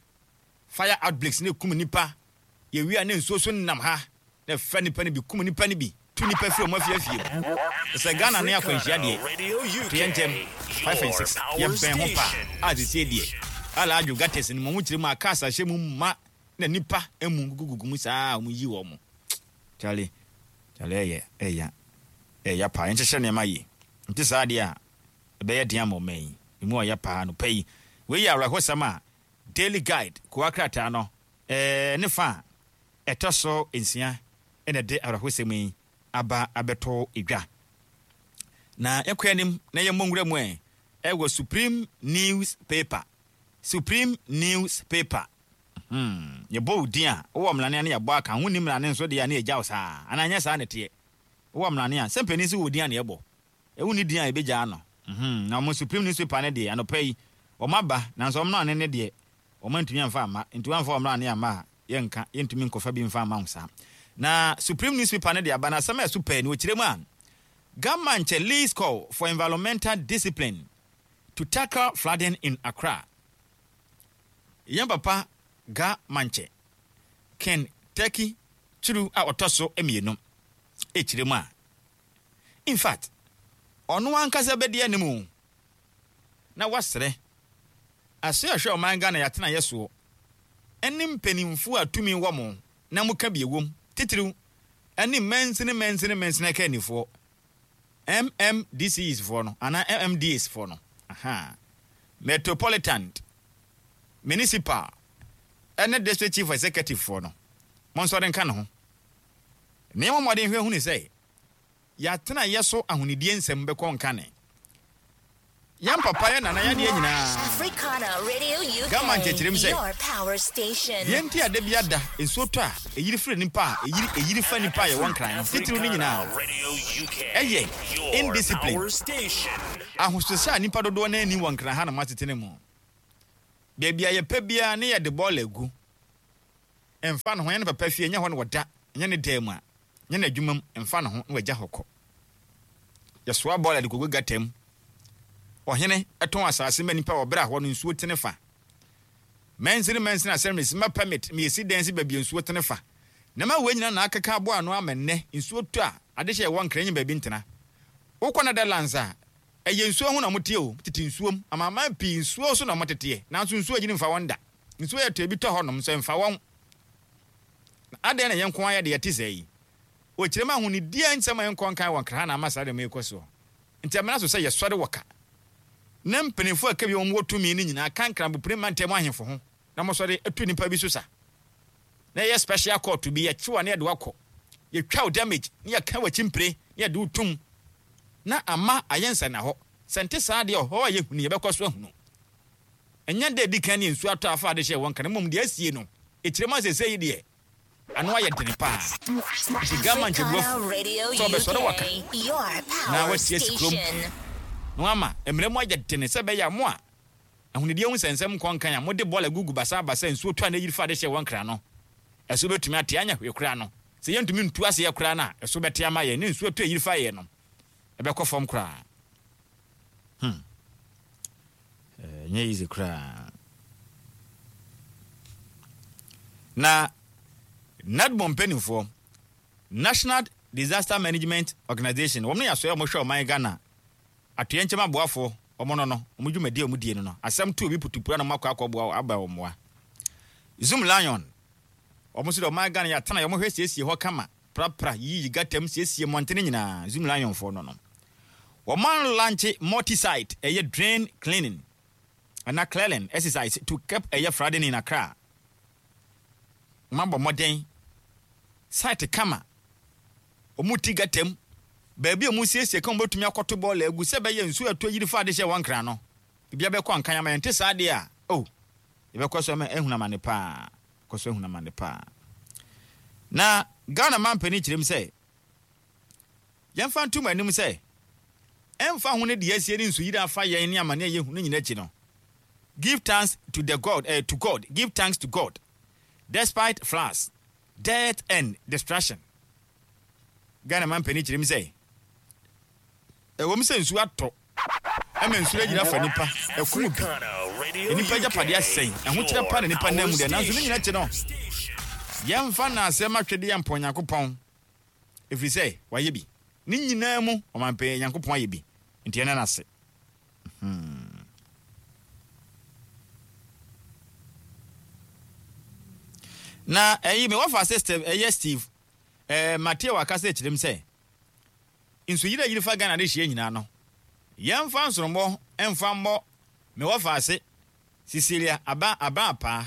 fire outbreaks ne kum nipa. Yɛwie a, ne nsuo so nam ha na ɛfa nipa no bi, kum nipa no bi, tu nipa firi ɔmo afiafie mu. Sɛ Ghana ne akwanhyia deɛ, atoyɛnkyɛm five and six yɛbɛn ho paa a. Sesie deɛ, Alaadwo gutters no mu, ɔmo kyerɛ mu a, cars ahyɛ mu ma na nipa emu gugugugu mu saa a, ɔmo yi wɔn mo. Charlie, Charlie, ɛyɛ ɛya ɛya paa. Yɛnhyehyɛ nneɛma yie, nti saa deɛ a, ɛbɛyɛ den ama ɔman yi emu ɔyɛ paa no pɛ yi. Wei yɛ awerɛhosɛm a Daily Guide kowa krataa no ɛɛ ne fa a ɛtɔ so nsia ɛna ɛde awerɛhosɛm yi aba abɛtɔ edwa. Na yɛkɔ anim na yɛmmɔ nwura mu ɛ ɛwɔ Supreme Newspaper. Supreme Newspaper, hmm, yɛbɔ wo din a, wowɔ mmerane a ne yɛbɔ aka ho ni. Mmerane nso deɛ a, ne yɛgya wo saa anaa nyɛ saa ne teɛ. Wowɔ mmerane a sɛ mpanin sɛ wɔ din a ne yɛbɔ ɛwo ne din a yɛbɛgyaa no. Mhm, na ɔmo Supreme Newspaper ne deɛ, anɔpa yi ɔmo aba, nanso ɔmo mmerane ne deɛ, ɔmo antumi amfa amma. Nti wɔamfa ɔmo mmerane amma a, yɛnka yɛntumi nkɔfa bi mfa amma wo saa. Na Supreme Newspaper ne deɛ aba na asɛm a ɛso pɛɛ ne wɔkyerɛ mu a, Ga Mantse leads call for environmental discipline to tackle flooding in Accra. Yɛn papa Ga Mantse Ken Turkey Turu a ɔtɔ so mmienu ɛkyerɛ mu a, in fact, ɔno ankasa bɛdi anim na wasrɛ ase ahwɛ ɔman Ghana yɛatena yɛ soɔ ɛne mpanimfoɔ a tumi wɔ mo na moka bi ewom titiriw ɛne mansini mansini mansini akannifoɔ, M M D C Es foɔ no anaa M M D As foɔ no, aha, metropolitan, municipal ɛne district chief executive foɔ no, mo nsɔre nka ne ho nneɛma mmɔden hwɛ hunu sɛ yɛatena yɛ so ahonidie nsɛm bɛkɔ nkane. Yɛn papa, yɛ nana, yɛadeɛ nyinaa Africana Radio U K, Gama nkyɛkyerɛm sɛ your power station. Deɛ nti a da bi ada nsuo tɔ a ɛyiri firi nipa a ɛyiri ɛyiri fa nipa a yɛwɔ Nkran no titiriw no nyinaa ɛyɛ indiscipline, ahosohyɛ a nipa dodoɔ no ani wɔ Nkran ha nom atetene mu. Baabi a yɛpɛ biara ne yɛde bɔɔla agu, ɛmfa ne ho. Ɛnyɛ ne papa fie, ɛnyɛ hɔ ne wɔda, ɛnyɛ ne dan mu a, nyɛ n'adwuma mu, ɛmfa ne ho na wagya hɔ kɔ. Yɛsoa bɔɔla de kɔgu gutter mu. Ɔhene ɛtɔn asase ma nipa wɔ berɛ a hɔ no nsuo tene fa. Mansini mansini assemblies ma permit ma yɛsi dan si baabi a nsuo tene fa. Nneɛma wei nyinaa na akeka aboa ano ama nnɛ nsuo tɔ a, adehyɛ ɛwɔ Nkran nyɛ baabi ntena. Wokɔ Netherlands a, ɛyɛ nsuo ho na wɔteɛ o, tete nsuom. Amanaman pii nsuo so na wɔteteɛ, nanso nsuo agyini mfa wɔn da. Nsuo yɛ tɔ, ebi tɔ hɔnom nso ɛmfa wɔn. Na adɛn na yɛn nko ayɛ de yɛte sɛ yi? Wɔkyerɛ mu ahonidie nsɛm a yɛnkɔ nkan wɔ Nkran ha na ama saa deɛ yɛkɔ soɔ. Nti amena so sɛ yɛsɔre wɔ ka na mpanimfoɔ a ɛka bi wɔn wɔ tumi no nyinaa ka Nkranbopire mantam ahemfo ho na wɔsɔre atu nipa bi so sa na yɛyɛ special court bi, yɛkyewa ne yɛde wakɔ, yɛtwa wo damage ne yɛka w'akyi mpire ne yɛde wo tum na ama ayɛ nsɛnna hɔ. Sɛ nte saa deɛ, ɔhɔ a yɛhunu yɛbɛkɔ so ahunu. Ɛnyɛ dɛ di kan ne nsuo atɔ afa ade hyɛ wɔn kan mmom deɛ asie no ɛkyerɛ mu asɛsɛ yi deɛ, ano ayɛ dene paa. Nti Gama nkyɛbuafo sɛ ɔbɛsɔre waka na watie si kurom na wama mmerɛ mu ayɛ dene sɛ ɛbɛyɛ a mo a ahonidie ho nsɛnsɛm nkɔ nkan a mode bɔɔla gugu basabasa, nsuo tɔ a na ɛyiri fa ade hyɛ wɔn kra no, ɛso bɛtumi ate anya hwee koraa no. Sɛ yɛntumi ntu aseɛ koraa no a, ɛso bɛte ama yɛn ne nsuo tɔ ɛyiri fa yɛ no ɛbɛkɔ fam koraa. hmm. Ɛnyɛ easy koraa. Na NADMO mpanimfoɔ, National Disaster Management Organization, wɔn no yɛ asɔeɛ a wɔhwɛ ɔman Ghana atoyɛnkyɛm aboafoɔ, wɔn no no, wɔn dwumadie a wɔn die no no, asɛm to obi putupura na wɔn akɔ akɔboa aba wɔn mmoa. Zoom Lion, wɔn nso deɛ ɔman Ghana yɛatena wɔn hwɛ siesie hɔ kama, prapra, yiyi gatam, siesie mmɔntene nyinaa, Zoom Lion foɔ no no. Wɔn alaunch multi-site, ɛyɛ drain cleaning, ana clearing exercise to curb ɛyɛ flooding in Accra. Wɔn abɔ mmɔden, site kama, wɔn ti gatam, baabi a wɔn siesie kan wɔbɛtumi akɔto bɔɔla agu sɛ bɛyɛ nsuo ɛtɔ yiri fa ade hyɛ wɔn nkran no, biribi abɛkɔ nkan ama yɛn te saa deɛ a, oh, yɛbɛkɔ so ama ehunu amane paa, kɔ so ehunu amane paa. Na Ghana man panin kyerɛ mu sɛ, yɛmfa ntom anim sɛ, ɛmfa ho ne deɛ asie ne nsuyiri afa yɛn ne amane a yɛhu no nyinaa akyi no, give thanks to the God, eh, to God, give thanks to God, despite floods, death and destruction. Ghana man panin kyerɛ mu sɛ, ɛwɔ mu sɛ nsuo atɔ, ɛma nsuo agyina fa nipa, ɛkum bi, nipa agyapadeɛ asɛe, ɛho kyerɛ pa na nipa nam mu deɛ, nanso ne nyinaa akyi no, yɛmfa n'asɛm atwedeɛ mpɔ Onyankopɔn, ɛfiri sɛ wayɛ bi. Ne nyinaa mu, ɔmanpanin Nyankopɔn ayɛ bi, nti ɛna n'ase. Hmm. Na ɛyi me wɔfa sɛ Steve, ɛyɛ Steve, ɛɛ Mateo akasa akyerɛ mu sɛ, nsuyiri a yiri fa Ghana de hyia nyinaa no, yɛmfa nsorommɔ mfa mmɔ me wɔfa ase Cecilia aba aba apaa,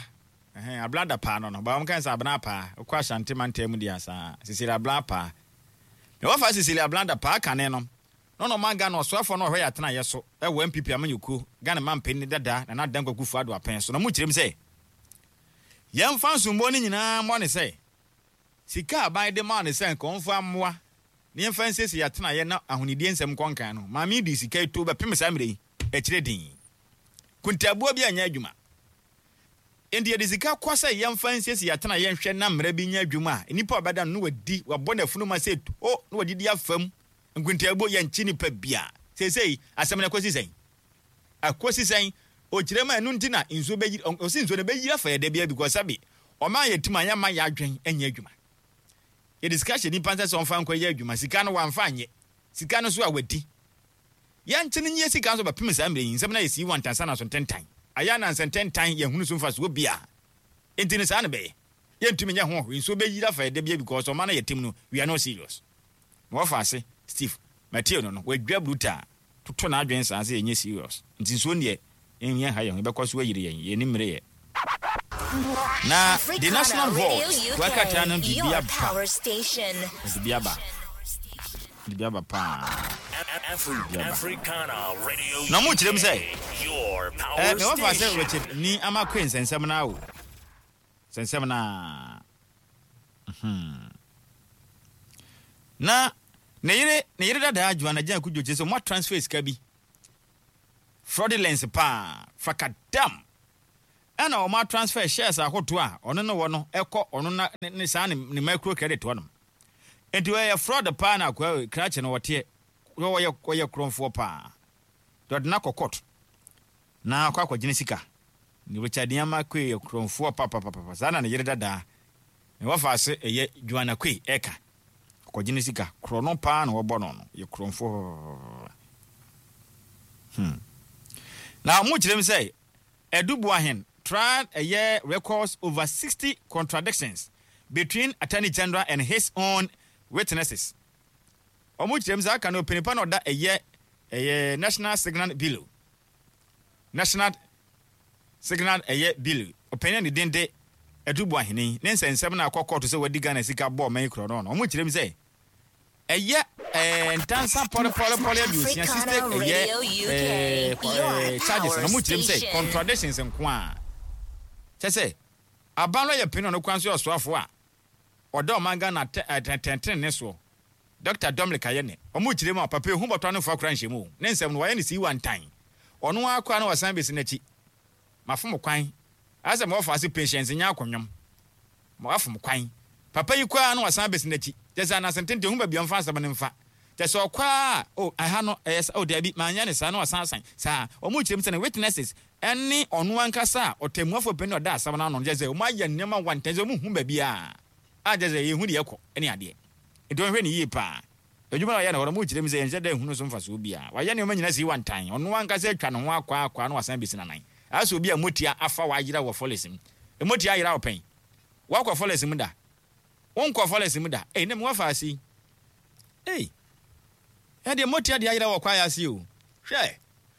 ɛhɛn ablada paa no no, ba wɔn kan sɛ abena apaa, okɔ Ashanti mantam mu deɛ saa, Cecilia abena apaa. Me wɔfa Cecilia ablada paa kane no, na ɔno ɔman Ghana ɔsoafoɔ no ɔhwɛ yɛ atena yɛ so ɛwɔ N P P amanyɔkuo Ghana manpanin dada Nana Dankwa Akufo-Addo apɛn so na ɔmo kyerɛ mu sɛ yɛmfa nsombɔ no nyinaa mmɔ ne sɛ sika aban de maa ne sɛ nka ɔmfa mmoa na yɛmfa nsiesie yɛ atena yɛ na ahonidie nsɛm nkɔ nkan no, maame di sika yi to bɛpem saa mmerɛ yi akyire din kuntabuo bi anyɛ adwuma. Enti yɛde sika kɔ sɛ yɛmfa nsiesie yɛ atena yɛ nhwɛ na mmerɛ bi nyɛ adwuma a nnipa a ɔbɛda no na wadi wabɔ n'afunu ma sɛ to na wadidi afam nkuntabuo yɛnkye nipa bia. Seesei asɛm no akɔsi sɛn? Akɔsi sɛn? Ɔkyerɛ mu a ɛno nti na nsuo bɛyiri, ɔsi nsuo no bɛyiri afa yɛ da biara because sɛbi ɔman yɛ tim a yɛmma yɛ adwen nyɛ adwuma. Yɛde sika hyɛ nipa nsa sɛ ɔmfa nkɔ yɛ adwuma, sika no wamfa anyɛ, sika no so a wadi. Yɛnkye no nyɛ sika nso bɛpem saa mmerɛ yi, nsɛm no ayɛ sii wantansa na so ntentan. Ayɛ anansa ntentan yɛhunu so mfasoɔ bia. Enti no saa no bɛyɛ. Yɛntumi nyɛ ho hwee, nsuo bɛyiri afa yɛ da biara because ɔman no yɛ tim no, we are not serious. Na wɔfa ase, Steve, Mateo no no, wadwa brutal, toto n'adwene saa sɛ yɛnyɛ serious. Nti nsuo deɛ, yɛn ha yɛn ho, yɛbɛkɔ so ayiri yɛn, yɛn ni mmere yɛ. Na the National Vault, wakrataa no biribi aba. Biribi aba. Biribi aba paa. Biribi aba. Na ɔmo kyerɛ mu sɛ, ɛɛ, mɛ wɔfa sɛ Richard ni ama kwe nsɛnsɛm na o. Nsɛnsɛm na. Hmm. Na ne yere, ne yere dada Joanna Jane Kudjo kyerɛ sɛ ɔmo transfer sika bi. Fraudulence paa, fakadam. Ɛna ɔmo transfer shares ahodoɔ a ɔno ne wɔ no ɛkɔ ɔno na ne saa ne ne micro credit hɔ nom. Nti ɔyɛ fraud paa na akɔ krakye no wɔteɛ. Ɔyɛ ɔyɛ korɔmfoɔ paa. Dɔde na kɔ court. Na akɔ akɔgyina sika. Ne Richard Nyama Kwe yɛ korɔmfoɔ papapapa. Saa na ne yere dada. Ne wɔfa ase ɛyɛ Joanna Kwe ɛka. Akɔgyina sika. Korɔ no paa na wɔbɔ no no. Yɛ korɔmfoɔ. Hmm. Na ɔmo kyerɛ mu sɛ Adu Boahen tried ɛyɛ records over sixty contradictions between Attorney General and his own witnesses. Ɔmo kyerɛ mu sɛ aka no ɔpanipa na ɔda ɛyɛ ɛyɛ National Signal Bureau. National Signal ɛyɛ Bureau. Ɔpanin a ne din de Adu Boahen ne nsɛnsɛm na akɔ kɔɔto sɛ wadi Ghana sika bɔɔ ɔman yi korɔ no no. Ɔmo kyerɛ mu sɛ ɛyɛ ɛɛ ntansa pɔlepɔlepɔle aduosia sixty ɛyɛ ɛɛ ɛɛ charges na ɔmo kyerɛ mu sɛ contradictions nko a kyɛ sɛ aban no yɛ panyin ɔno kwan so yɛ ɔsoafo a ɔda ɔman Ghana tɛntɛntɛn ne soɔ Doctor Dominic Ayene ɔmo kyerɛ mu a papa ehu bɔtɔ ano fa kora nhyɛ mu ne nsɛm no wɔayɛ ne sii wantan ɔno akɔ na wasan besi n'akyi mafom kwan asɛ mo wɔfa ase patience nyɛ akɔnwom mo afom kwan papa yi kɔ na wasan besi n'akyi kyɛ sɛ anase ntenten hu baabi ɔmfa asɛm no mfa kyɛ sɛ ɔkɔ a o ɛha no ɛyɛ sɛ o dabi manyɛ ne saa na wasan asan saa ɔmo kyerɛ mu sɛ ne witnesses ɛne ɔno ankasa a ɔtɛmuafo panyin ɔda asɛm no ano kyɛ sɛ ɔmo ayɛ nneɛma wantan sɛ ɔmo hu baabi a a kyɛ sɛ yɛhu deɛ ɛkɔ ɛne adeɛ Nti ɔnhwɛ ne yie paa. Adwuma a ɔyɛ no hɔ no, mo kyerɛ mu sɛ yɛnhyɛ da nhunu so mfasoɔ biara. Wayɛ nneɛma nyinaa si wantan. Ɔno ankasa atwa ne ho akɔ akɔ na wasan bɛsi nanan. Asɛ obi a motia afa wayera wɔ forest mu. Motia ayera wo pɛn. Wakɔ forest mu da. Wonkɔ forest mu da. Ei, ne mu wafa ase yi. Ei. Ɛdeɛ motia de ayera wɔ kwaeɛ ase o. Hwɛ.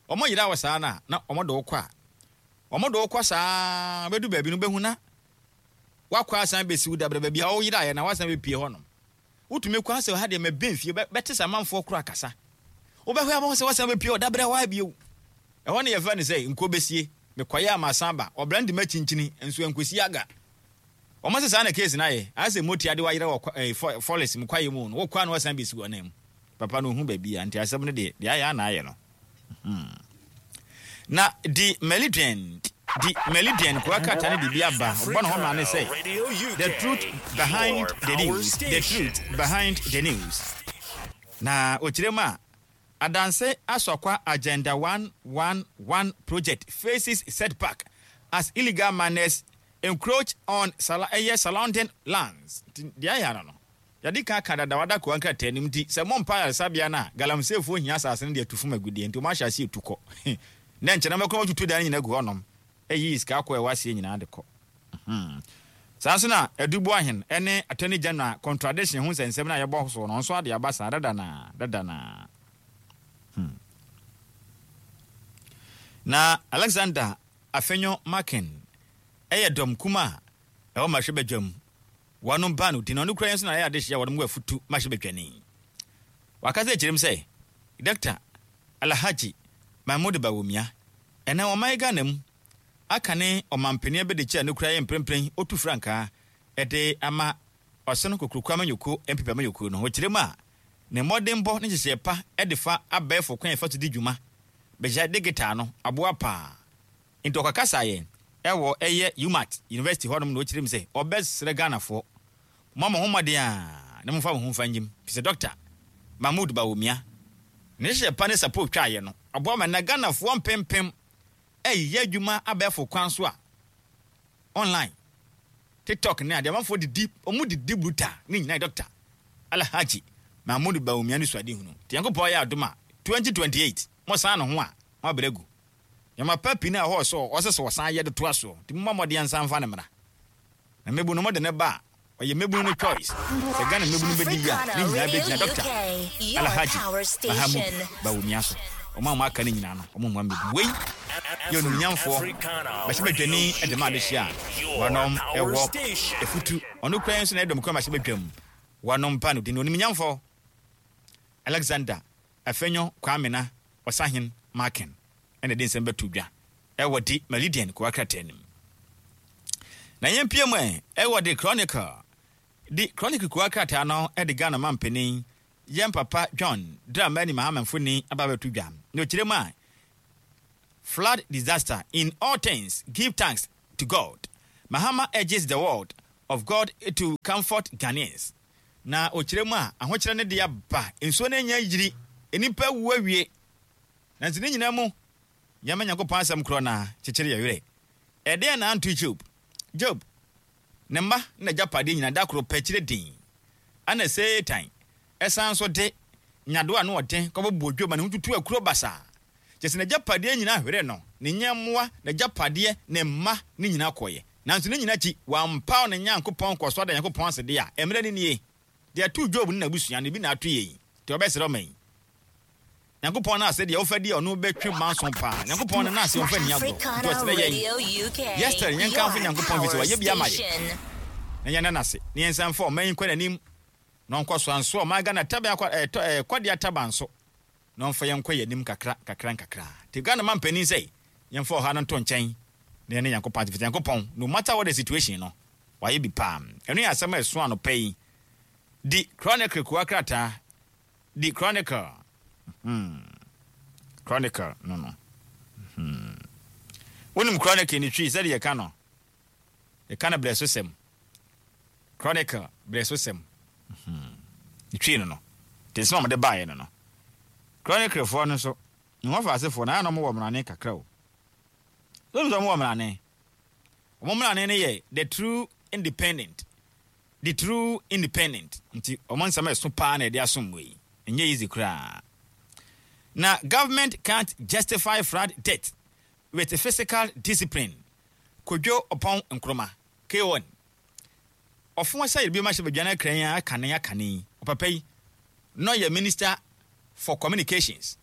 Ɔmo yera wɔ saa na na ɔmo de wo kɔ a. Ɔmo de wo kɔ saa bɛdu baabi no bɛhu na wakɔ asan bɛsi wo dabrɛ baabi a ɔyeraeɛ na wasan bɛpie hɔ nom. Wotumi kɔ asɛ ha deɛ mɛbɛn fie bɛte sɛ amanfoɔ koro akasa. Wobɛhwɛ abɔ sɛ wasan bɛpie hɔ dabrɛ hɔ bio. Ɛhɔ ne yɛfrɛ no sɛ nko bɛsie. Mekɔyɛ ama asan ba. Ɔbra de makyinkyini nso nkosi aga. Ɔmo sɛ saa na case no ayɛ. Ayɛ sɛ motia de wayerɛ wɔ forest mu kwaeɛ mu no. Wokɔ a na wasan bɛsi wɔ nan mu. Papa no ohu baabi a nti asɛm no deɛ deɛ ayɛ ana ayɛ no. Hmm. Na di Meridian di Meridian kowa krataa no de bi aba. Ɔbɔ ne ho ma ne sɛ the truth behind the news, the truth behind the news. Na ɔkyerɛ mu a Adanse Asokwa Agenda one one one project faces setback as illegal miners encroach on sala ɛyɛ surrounding lands. Nti deɛ ayɛ ano no yɛde ka ka dada wada kowa nkrataa nim nti sɛ mompa ayaresabea no a galamseefoɔ hia asase no de atu fam agudeɛ nti wɔn ahyɛ ase etu kɔ na nkyɛn na mɛkɔ wɔtutu dan no nyinaa gu hɔnom ɛyi sika akɔ ɛwɔ aseɛ nyinaa de kɔ. Saa nso na Adubu Ahen ne Attorney General contradiction ho nsɛnsɛm no a yɛbɔ so no nso ade aba saa dada na dada na. Hmm. Na Alexander Afenyo Markin ɛyɛ dɔm kuma a ɛwɔ mmarahyɛbadwam wɔnom ba no di na ɔno kura yɛn nso na ɛyɛ adehyɛ a wɔnom wɔ afutu mmarahyɛbadwani. Wakasa kyerɛ mu sɛ Doctor Alhaji Mahmoud Bawumia ɛnɛ ɔman Ghana mu aka ne ɔmampanin abɛdekyi a ne kura yɛ mprempren otu frankaa ɛde ama ɔsɛn kokuroko amanyɔkuo N P P amanyɔkuo no. Wɔkyerɛ mu a ne mmɔdenbɔ ne nhyehyɛe pa ɛde fa abɛɛfo kwan yɛfa so di dwuma bɛgya digital no aboa paa. Nti ɔkakasa yɛn ɛwɔ ɛyɛ UMaT University hɔnom na ɔkyerɛ mu sɛ ɔbɛsrɛ Ghanafoɔ mo ama ho mmɔden a na momfa mo ho mfa ngyim fi sɛ Doctor Mahmoud Bawumia ne nhyehyɛ pa ne support twaeɛ no aboa ma na Ghanafoɔ mpempem ɛyɛ adwuma abɛɛfo kwan so a online TikTok ne adeɛ amanfoɔ didi ɔmo didi brutal ne nyinaa Doctor Alhaji Mahmoud Bawumia ne suade hunu. Nti Nyankopɔn yɛ adom a twenty twenty-eight mo san ne ho a mo abrɛ gu nyɛma pa pii na ɛhɔ sɛ ɔsɛ sɛ ɔsan yɛ de toa soɔ. Nti momma mmɔden nsa mfa ne mmra na mmɛbu no mode ne ba a ɔyɛ mmɛbunu no choice sɛ Ghana mmɛbunu bɛdi yi a ne nyinaa bɛgyina Doctor Alhaji Mahamudu Bawumia so. Ɔmo a ɔmo aka no nyinaa no ɔmo mmoa mmɛbu wei yɛ onumnyamfoɔ bɛhyɛbadwani de ma adehyɛ a wɔnom ɛwɔ efutu ɔno kura nso na ɛdɔm kura mahyɛbadwam wɔnom pa no din onumnyamfoɔ Alexander Afenyo Kwamina Ɔsahen Markin ɛna de nsɛm bɛto dwa ɛwɔ di Meridian kowa krataa nim. Na yɛn pie mu ɛ ɛwɔ de Chronicle di Chronicle kowa krataa no ɛde Ghana mampanin yɛn papa John Dramani Mahama mfoni aba bɛto dwa na ɔkyerɛ mu a flood disaster, in all things give thanks to God, Mahama urges the world of God to comfort Ghanaians. Na ɔkyerɛ mu a ahokyerɛ no de aba nsuo no anya yiri nnipa wu awie nanso ne nyinaa mu yɛma Nyankopɔn asɛm korɔ na kyekyere yɛ werɛ. Ɛdeɛn na anto Job? Job ne mma na agyapadeɛ nyinaa da koro pɛ kyerɛ din ana Satan ɛsan so de nyadoa a na ɔden kɔbɔbɔ Job ma ne ho tutu akuro basaa kyɛ sɛ n'agyapadeɛ nyinaa hwere no ne nyɛmmoa n'agyapadeɛ ne mma ne nyinaa kɔeɛ. Nanso ne nyinaa akyi wampaw ne Nyankopɔn kɔ so ada Nyankopɔn ase deɛ a mmerɛ no nie deɛ ɛtoo Job ne n'abusua no bi na ato yɛ yi nti ɔbɛsrɛ ɔma yi Nyankopɔn no ase deɛ wofa di a ɔno bɛtwe manso paa. Nyankopɔn no n'ase ɔmfa nni agorɔ nti ɔsrɛ yɛn yɛsrɛ yɛnkamfo Nyankopɔn fi sɛ wayɛ bi ama yɛ na yɛnda n'ase na yɛnsan mfa ɔman yi nkɔ n'anim na ɔnkɔ so anso ɔman Ghana taban akɔ ɛɛ kɔdeɛ ataban so na ɔmfa yɛn nkɔ yɛn anim kakra kakra nkakra. Nti Ghana ma mpanin sɛ yɛmfa ɔha no nto nkyɛn na yɛne Nyankopɔn ate fiti Nyankopɔn no matter what the situation no wayɛ bi paa. Ɛno yɛ asɛm a ɛso anɔpa yi di Chronicle kuwa krataa di Chronicle hmm. Chronicle no no hmm. Wonim Chronicle ne Twi sɛde yɛka no yɛka no berɛ so sɛm Chronicle berɛ so sɛm hmm. Ne Twi no no nti nsɛm a wɔde baeɛ no no Chroniclefoɔ no nso ne wɔfa asefoɔ na ayɛ na wɔwɔ mmarane kakra o. Wɔn nso wɔwɔ mmarane. Wɔn mmarane no yɛ the true independent. The True Independent nti ɔmo nsɛm a ɛso paa na ɛde asom wɔ yi, ɛnyɛ easy koraa. Na government can't justify flood death with fiscal discipline. Kojo Oppong Nkrumah K one ɔfo sɛ yɛde bi ma hyɛ badwa no akran yi akane akane yi. Ɔpapa yi na ɔyɛ Minister for Communications,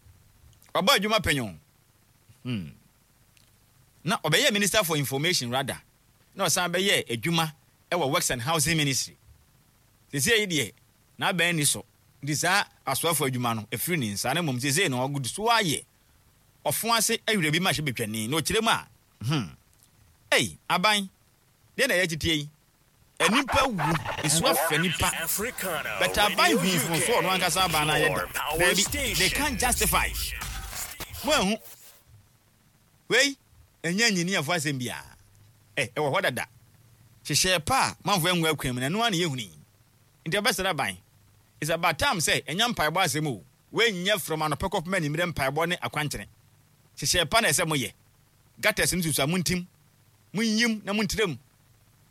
ɔbɔ adwuma panyin hmm. Na ɔbɛyɛ Minister for Information rather, na ɔsan bɛyɛ adwuma ɛwɔ Works and Housing Ministry. Sisi yi deɛ, n'abɛn ni so nti saa asoafo adwuma no efiri ne nsa, na mmom sisi no ɔgu so ayɛ ɔfo ase awura bi ma hyɛ betwani na ɔkyerɛ mu a hmm ei, aban deɛ na ɛyɛ titie yi, nipa wu, nsuo afɛ nipa, but aban hu mfomso ɔno ankasa aban no ayɛ da. Daabi, they can't justify. Mo ehu wei, ɛnyɛ nyiniafo asɛm biara. Ɛ ɛwɔ hɔ dada, hyehyɛ pa a manfo ɛngu akwan mu na ɛno ara na yɛhunu yi. Nti ɛbɛsrɛ aban, it's about time sɛ ɛnyɛ mpaebɔ asɛm o. Wei nyɛ from anɔpɛ kɔpem anwummerɛ mpaebɔ ne akwankyerɛ. Hyehyɛ pa na ɛsɛ moyɛ. Gutters no susu a, montim, monyim na montirem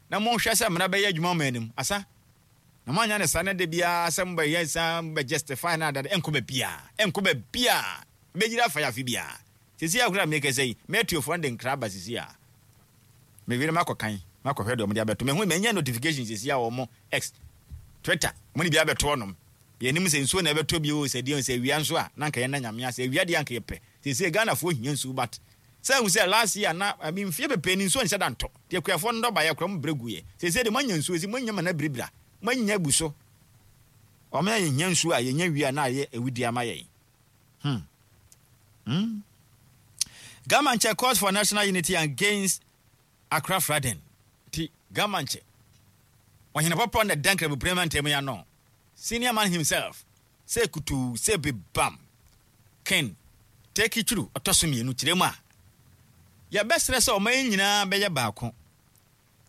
na monhwɛ sɛ mmara bɛyɛ adwuma ma anim asa na moanya ne saa. Na da biara sɛ mobɛyɛ sa mobɛ justify no adade, ɛnkɔ baabiaa, ɛnkɔ baabiaa, bɛgyina afa yɛ afe biaa. Sisi akora mekɛ sɛ yi, mɛtuofoɔ no de nkra aba sisi a mewere makɔ kan makɔhwɛ deɛ ɔmode abɛto. Mehu manya notification sisi a wɔn X, Twitter, ɔmo de bi abɛto ɔnom. Yɛnim sɛ nsuo na ɛbɛtɔ bi o, sɛ deɛ sɛ awia nso a, na nka yɛn na Nyame ase. Awia deɛ anka yɛpɛ sɛ Ghanafoɔ hia nsuo, but sɛ ehu sɛ last year na, I mean, mfie bebree ni nsuo nhyɛ da ntɔ deɛ, kuafoɔ no dɔba yɛ kora mo brɛ gu yɛ. Sɛ de moanya nsuo si moanya ma na biribira moanya abu so, ɔmo yɛ hia nsuo a yɛnya wie a na ayɛ awudi ama yɛn hmm. hmm. Ga Mantse calls for national unity against Accra flooding. Ti Ga Mantse ɔhene pɔpɔ na dan Kramoprema ntam ya no, senior man himself, sɛ kutu sɛ bebam ken teki twuru ɔtɔ so mmienu kyerɛ mu a, yɛbɛsrɛ sɛ ɔman yi nyinaa bɛyɛ baako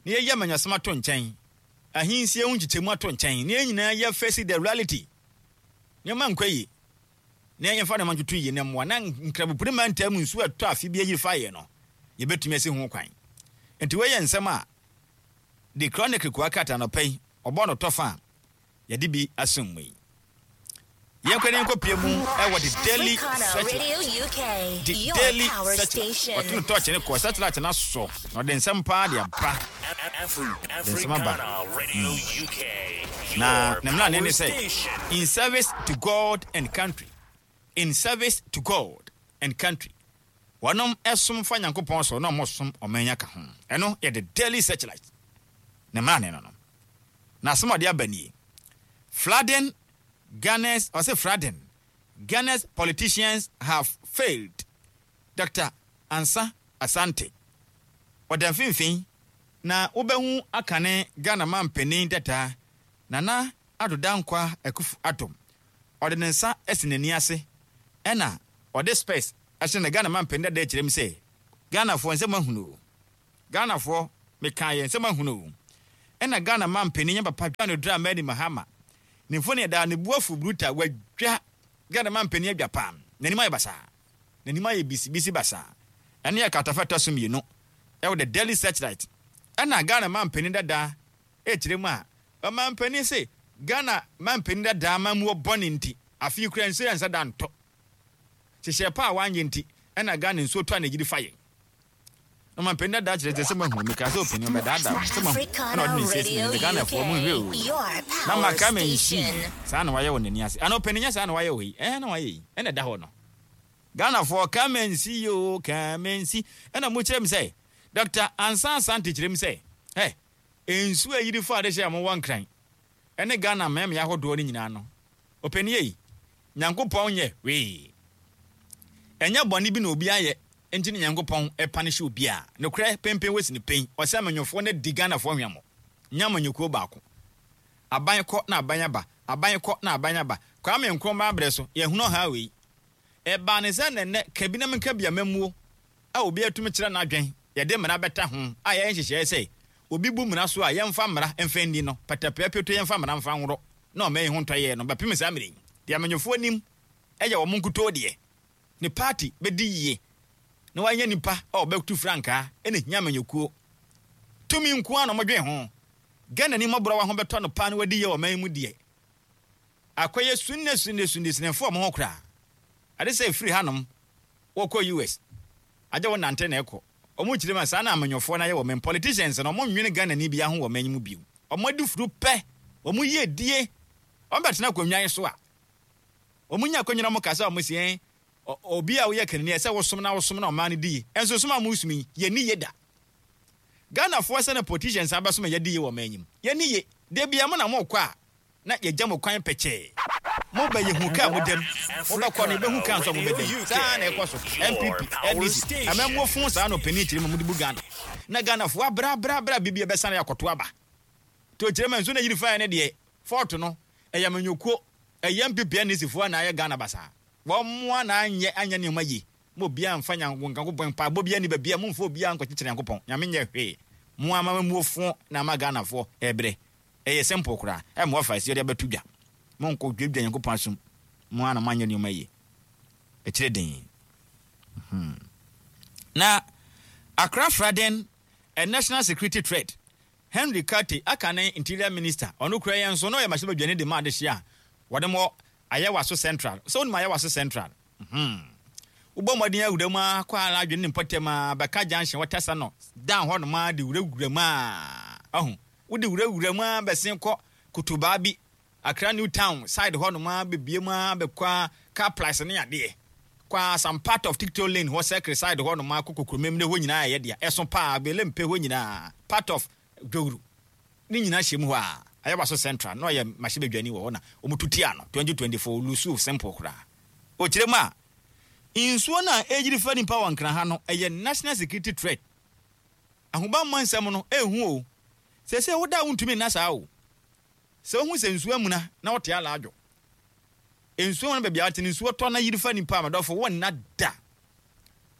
na yɛyɛ amanyɔsɛm ato nkyɛn, ahensie ho nkyekyɛmu ato nkyɛn, na yɛn nyinaa yɛ face the reality. Nneɛma nkɔ yie na yɛmfa nneɛma ntoto yie na mmoa na Nkrabopori mantam nsuo ɛtɔ afe bi ayiri fa yɛ no, yɛbɛtumi asi ho kwan. Nti wɔyɛ nsɛm a The Chronicle kua krataa nɔpɛ yi ɔbɔ no tɔfa a yɛde bi asom mu yi. Yɛnkɔ ne yɛnkɔ mu ɛwɔ The Daily Searchlight. The Daily Searchlight, ɔto no tɔɔkye ne kɔ Searchlight na so na ɔde nsɛm paa de aba, de nsɛm aba na ne mmara ne ne sɛ "In service to God and country", "In service to God and country". Wɔnom ɛsom fa Nyankopɔn so na ɔmo som ɔman ka ho. Ɛno yɛ The Daily Searchlight ne mmara ne no no Na asɛm a ɔde aba nie: "Flooding Ghana's", ɔsɛ "flooding Ghana's politicians have failed". Doctor Ansa Asante ɔda mfimfini na wobɛhu akane Ghana mampanin dada Nana Addo Dankwa Akufo Addo, ɔde ne nsa asi n'ani ase ɛna ɔde specs ahyɛ. Na Ghana mampanin dada kyerɛ mu sɛ Ghanafoɔ nsɛm ahunu o, Ghanafoɔ meka yɛ nsɛm ahunu o. Ɛna Ghana mampanin yɛn papa John Dramani Mahama ne mfoni ɛda ne bu afu bruta wadwa. Ghana mampanin adwa pam, n'anim ayɛ basaa, n'anim ayɛ bisibisi basaa. Ɛne yɛ katafa ɛtɔ so mmienu ɛwɔ The Daily Searchlight. Ɛna Ghana mampanin dada ɛkyerɛ mu a, ɔmampanin se Ghana mampanin dada amamuo bɔne nti afei kura nsuo yɛ nsa da ntɔ, hyehyɛ pa a wanyɛ nti ɛna Ghana nsuo tɔ a n'agyiri fa yɛn. Na ɔmampanin dada kyerɛ sɛ sɛ mahu meka sɛ ɔpanin ɔbɛdaadaa sɛ mahu, ɛna ɔde ne nsa si n'anim sɛ Ghanafoɔ mo nhwɛ o, na maka ma nsi saa na wayɛ wɔ n'ani ase ana ɔpanin nyɛ saa na wayɛ wɔ yi, ɛɛ na wayɛ yi ɛna ɛda hɔ no. Ghanafoɔ ka ma nsi o, ka ma nsi. Ɛna mo kyerɛ mi sɛ Doctor Ansa Asante kyerɛ mi sɛ ɛ nsuo a yiri fa ade hyɛ a mowɔ Nkran ɛne Ghana mmeammea ahodoɔ no nyinaa no, ɔpanin yi Nyankopɔn nyɛ hwee, ɛnyɛ bɔne bi na obi ayɛ nti ne Nyankopɔn ɛpa no hyɛ obi a nokorɛ pempen wɔsi ne pɛn. Ɔsɛ amanyɔfoɔ no di Ghanafoɔ hwɛmmɔ, nyɛ amanyɔkuo baako. Aban kɔ na aban aba, aban kɔ na aban aba. Kwame Nkrumah abrɛ so yɛhunu ɔha wei ɛbaa ne sɛ nɛnɛ kabi na menka bi amammuo a obi atumi kyerɛ n'adwen, yɛde mmara bɛta ho a yɛyɛ nhyehyɛeɛ sɛ obi bu mmara so a yɛmfa mmara mfa nni no pɛtɛpɛɛ pioto, yɛmfa mmara mfa nworɔ na ɔma yi ho ntɔ yɛ no bɛpem saa mmerɛ yi deɛ amanyɔfoɔ nim ɛyɛ wɔn nkutoo deɛ ne party bɛdi yie na wanyɛ nipa a ɔbɛtu frankaa. Ɛna hia amanyɔkuo tumi nko ara na ɔmɔdwen ho. Ghana ni mmɔborɔ wa ho bɛtɔ no paa na wadi yɛ wɔ man mu deɛ, akɔyɛ sunne sunne sunne sinɛfoɔ ɔmo ho koraa. Ade sɛ efiri hanom wɔkɔ U S agye wo nante na ɛkɔ. Ɔmo kyerɛ mu a, saa na amanyɔfoɔ no ayɛ wɔ man. Politicians no, ɔmo nwene Ghana ni bia ho wɔ man mu bio. Ɔmo adi furu pɛ, ɔmo yie die, ɔmo bɛtena akonnwa yi so a, ɔmo nya akonnwa na ɔmo kasa, ɔmo si ɛn obi a woyɛ kanani ɛsɛ wosom na wosom na ɔman no di yie. Ɛnso som a mo som yi, yɛ ni yie da. Ghanafoɔ sɛ na politicians abɛsom a yɛdi yie wɔ man yi mu, yɛni yie de bia mo na mo kɔ a na yɛgya mo kwan pɛkyɛɛ. Mo bɛ yɛ hu kaa mo dɛm, mo bɛkɔ no yɛbɛhu kaa nso a mo bɛ dɛm. Saa na ɛkɔ so. N P P, N D C, amammuo fon saa na ɔpanin kyerɛ mu mo de bu Ghana na Ghanafoɔ abrɛ abrɛ abrɛ bibi ɛbɛsane akɔto aba to kyerɛ mu. Nso na yiri faeɛ no deɛ, fault no ɛyɛ amanyɔkuo, ɛyɛ N P P, N D C foɔ na ayɛ Ghana basaa. Wɔn mmoa na anyɛ anyɛ nneɛma yie mo. Obiara mfa Nyankopɔn mpaebɔ biara ni baabi a momfa obiara nkɔkyekyere Nyankopɔn. Nyame nyɛ hwee. Mo ama muo fo na ama Ghanafoɔ ɛbrɛ. Ɛyɛ simple koraa. Ɛmmoa fa ɛsi ɔde abɛto dwa. Monkɔ dwadwa Nyankopɔn asom. Mo ana moanyɛ nneɛma yie. Ɛkyerɛ den hmm. Na Accra flooding a national security threat. Henry Quartey aka ne Interior Minister, ɔno kura yɛn nso na ɔyɛ mahyɛbadwani de ma adehye a wɔde mɔ Ayawaso Central. Sɛ wonim Ayawaso Central hmm. Wobɔ mmɔden awura mu akɔ ara adwene ne mpɔtam a bɛka junction wɔtasa no down hɔ nom a de wurawura mu a ɔho wode wurawura mu a bɛsen kɔ Kotobaa bi, Accra New Town side hɔ nom a bebie mu a bɛkɔ a car price ne adeɛ kɔ a some part of Tikto Lane hɔ, Circle side hɔ nom a kɔ Kokromem ne hɔ nyinaa ɛyɛ deɛ ɛso paa bele mpe hɔ nyinaa, part of Dwowuru ne nyinaa hyɛ mu hɔ a Ayawaso Central na ɔyɛ mahyɛbadwani wɔ hɔ na ɔmo tutia no twenty twenty-four lusu simple koraa. Ɔkyerɛ mu a, nsuo no a ɛgyiri fa nipa wɔ Nkran ha no ɛyɛ national security threat. Ahobammɔ nsɛm no ɛhu o. Sɛ sɛ woda a wontumi nna saa o. Sɛ wohu sɛ nsuo amuna na wote alaadwo nsuo no baabi a wote no, nsuo tɔ na yiri fa nipa a, madɔfo, wonna da.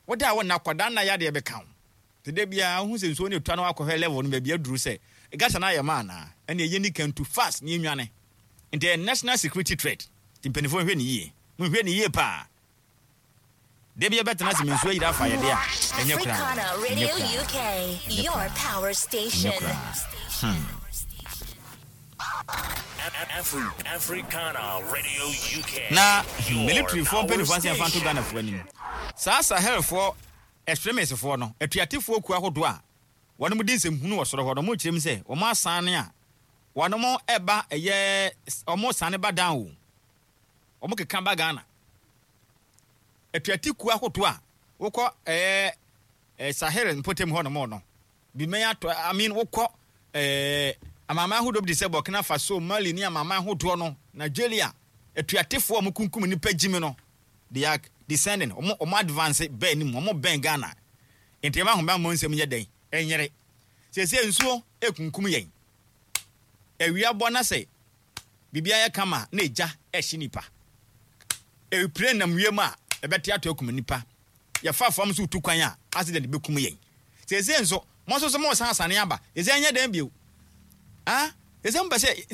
Woda a wonna kɔda nna yadeɛ bɛka wo. Te da biara wohu sɛ nsuo no ɛtwa na wakɔhwɛ level no baabi aduru sɛ gata no ayɛ ma anaa, ɛne ɛyɛ ni kantu fast ne yɛnwane. Nti ɛyɛ national security threat. Nti mpanimfoɔ nhwɛ ne yie, monhwɛ ne yie paa. Da bi yɛbɛtena sɛ nsuo ayiri afa yɛde a ɛnyɛ koraa. Africana ɛnyɛ Radio koraa. U K, your power station. Ɛnyɛ koraa hmm. Afri- Africana Radio U K. Na Your militaryfoɔ power mpanimfoɔ ase yɛmfa nto station. Ghanafoɔ anim, saa Sahelfoɔ extremistfoɔ no, atuatefoɔ kuo ahodoɔ a wɔnom di nsɛmhunu wɔ soro hɔ no, ɔmo kyerɛ mu sɛ wɔn asane a wɔnom ɛba, ɛyɛ ɔmo sane ba down o, ɔmo keka ba Ghana. Atuate kuo ahodoɔ a wokɔ ɛyɛ ɛ Sahel mpɔtam hɔ nom no bimɛn atɔ, I mean, wokɔ ɛɛ amanaman ahodoɔ bi te sɛ Burkina Faso, Mali ne amanaman ahodoɔ no, Nigeria, atuatefoɔ a wɔn kunkum nipa gyimi no, they are descending. ɔmo ɔmo advance bɛn anim, ɔmo bɛn Ghana. Nti ɛma ahobanbɔ nsɛm yɛ dɛn ɛnyere. Sɛsɛ nsuo ekunkum yɛn, awia bɔ na sɛ biribi ayɛ kama na egya ɛhye nipa, epire nam wiem a ɛbɛte ato akum nipa, yɛfa fam so tu kwan a accident bɛkum yɛn. Sɛsɛ nso mo nso so mo san asane aba, sɛsɛ ɛnyɛ dɛn bio? Ah, sɛsɛ mo pɛ sɛ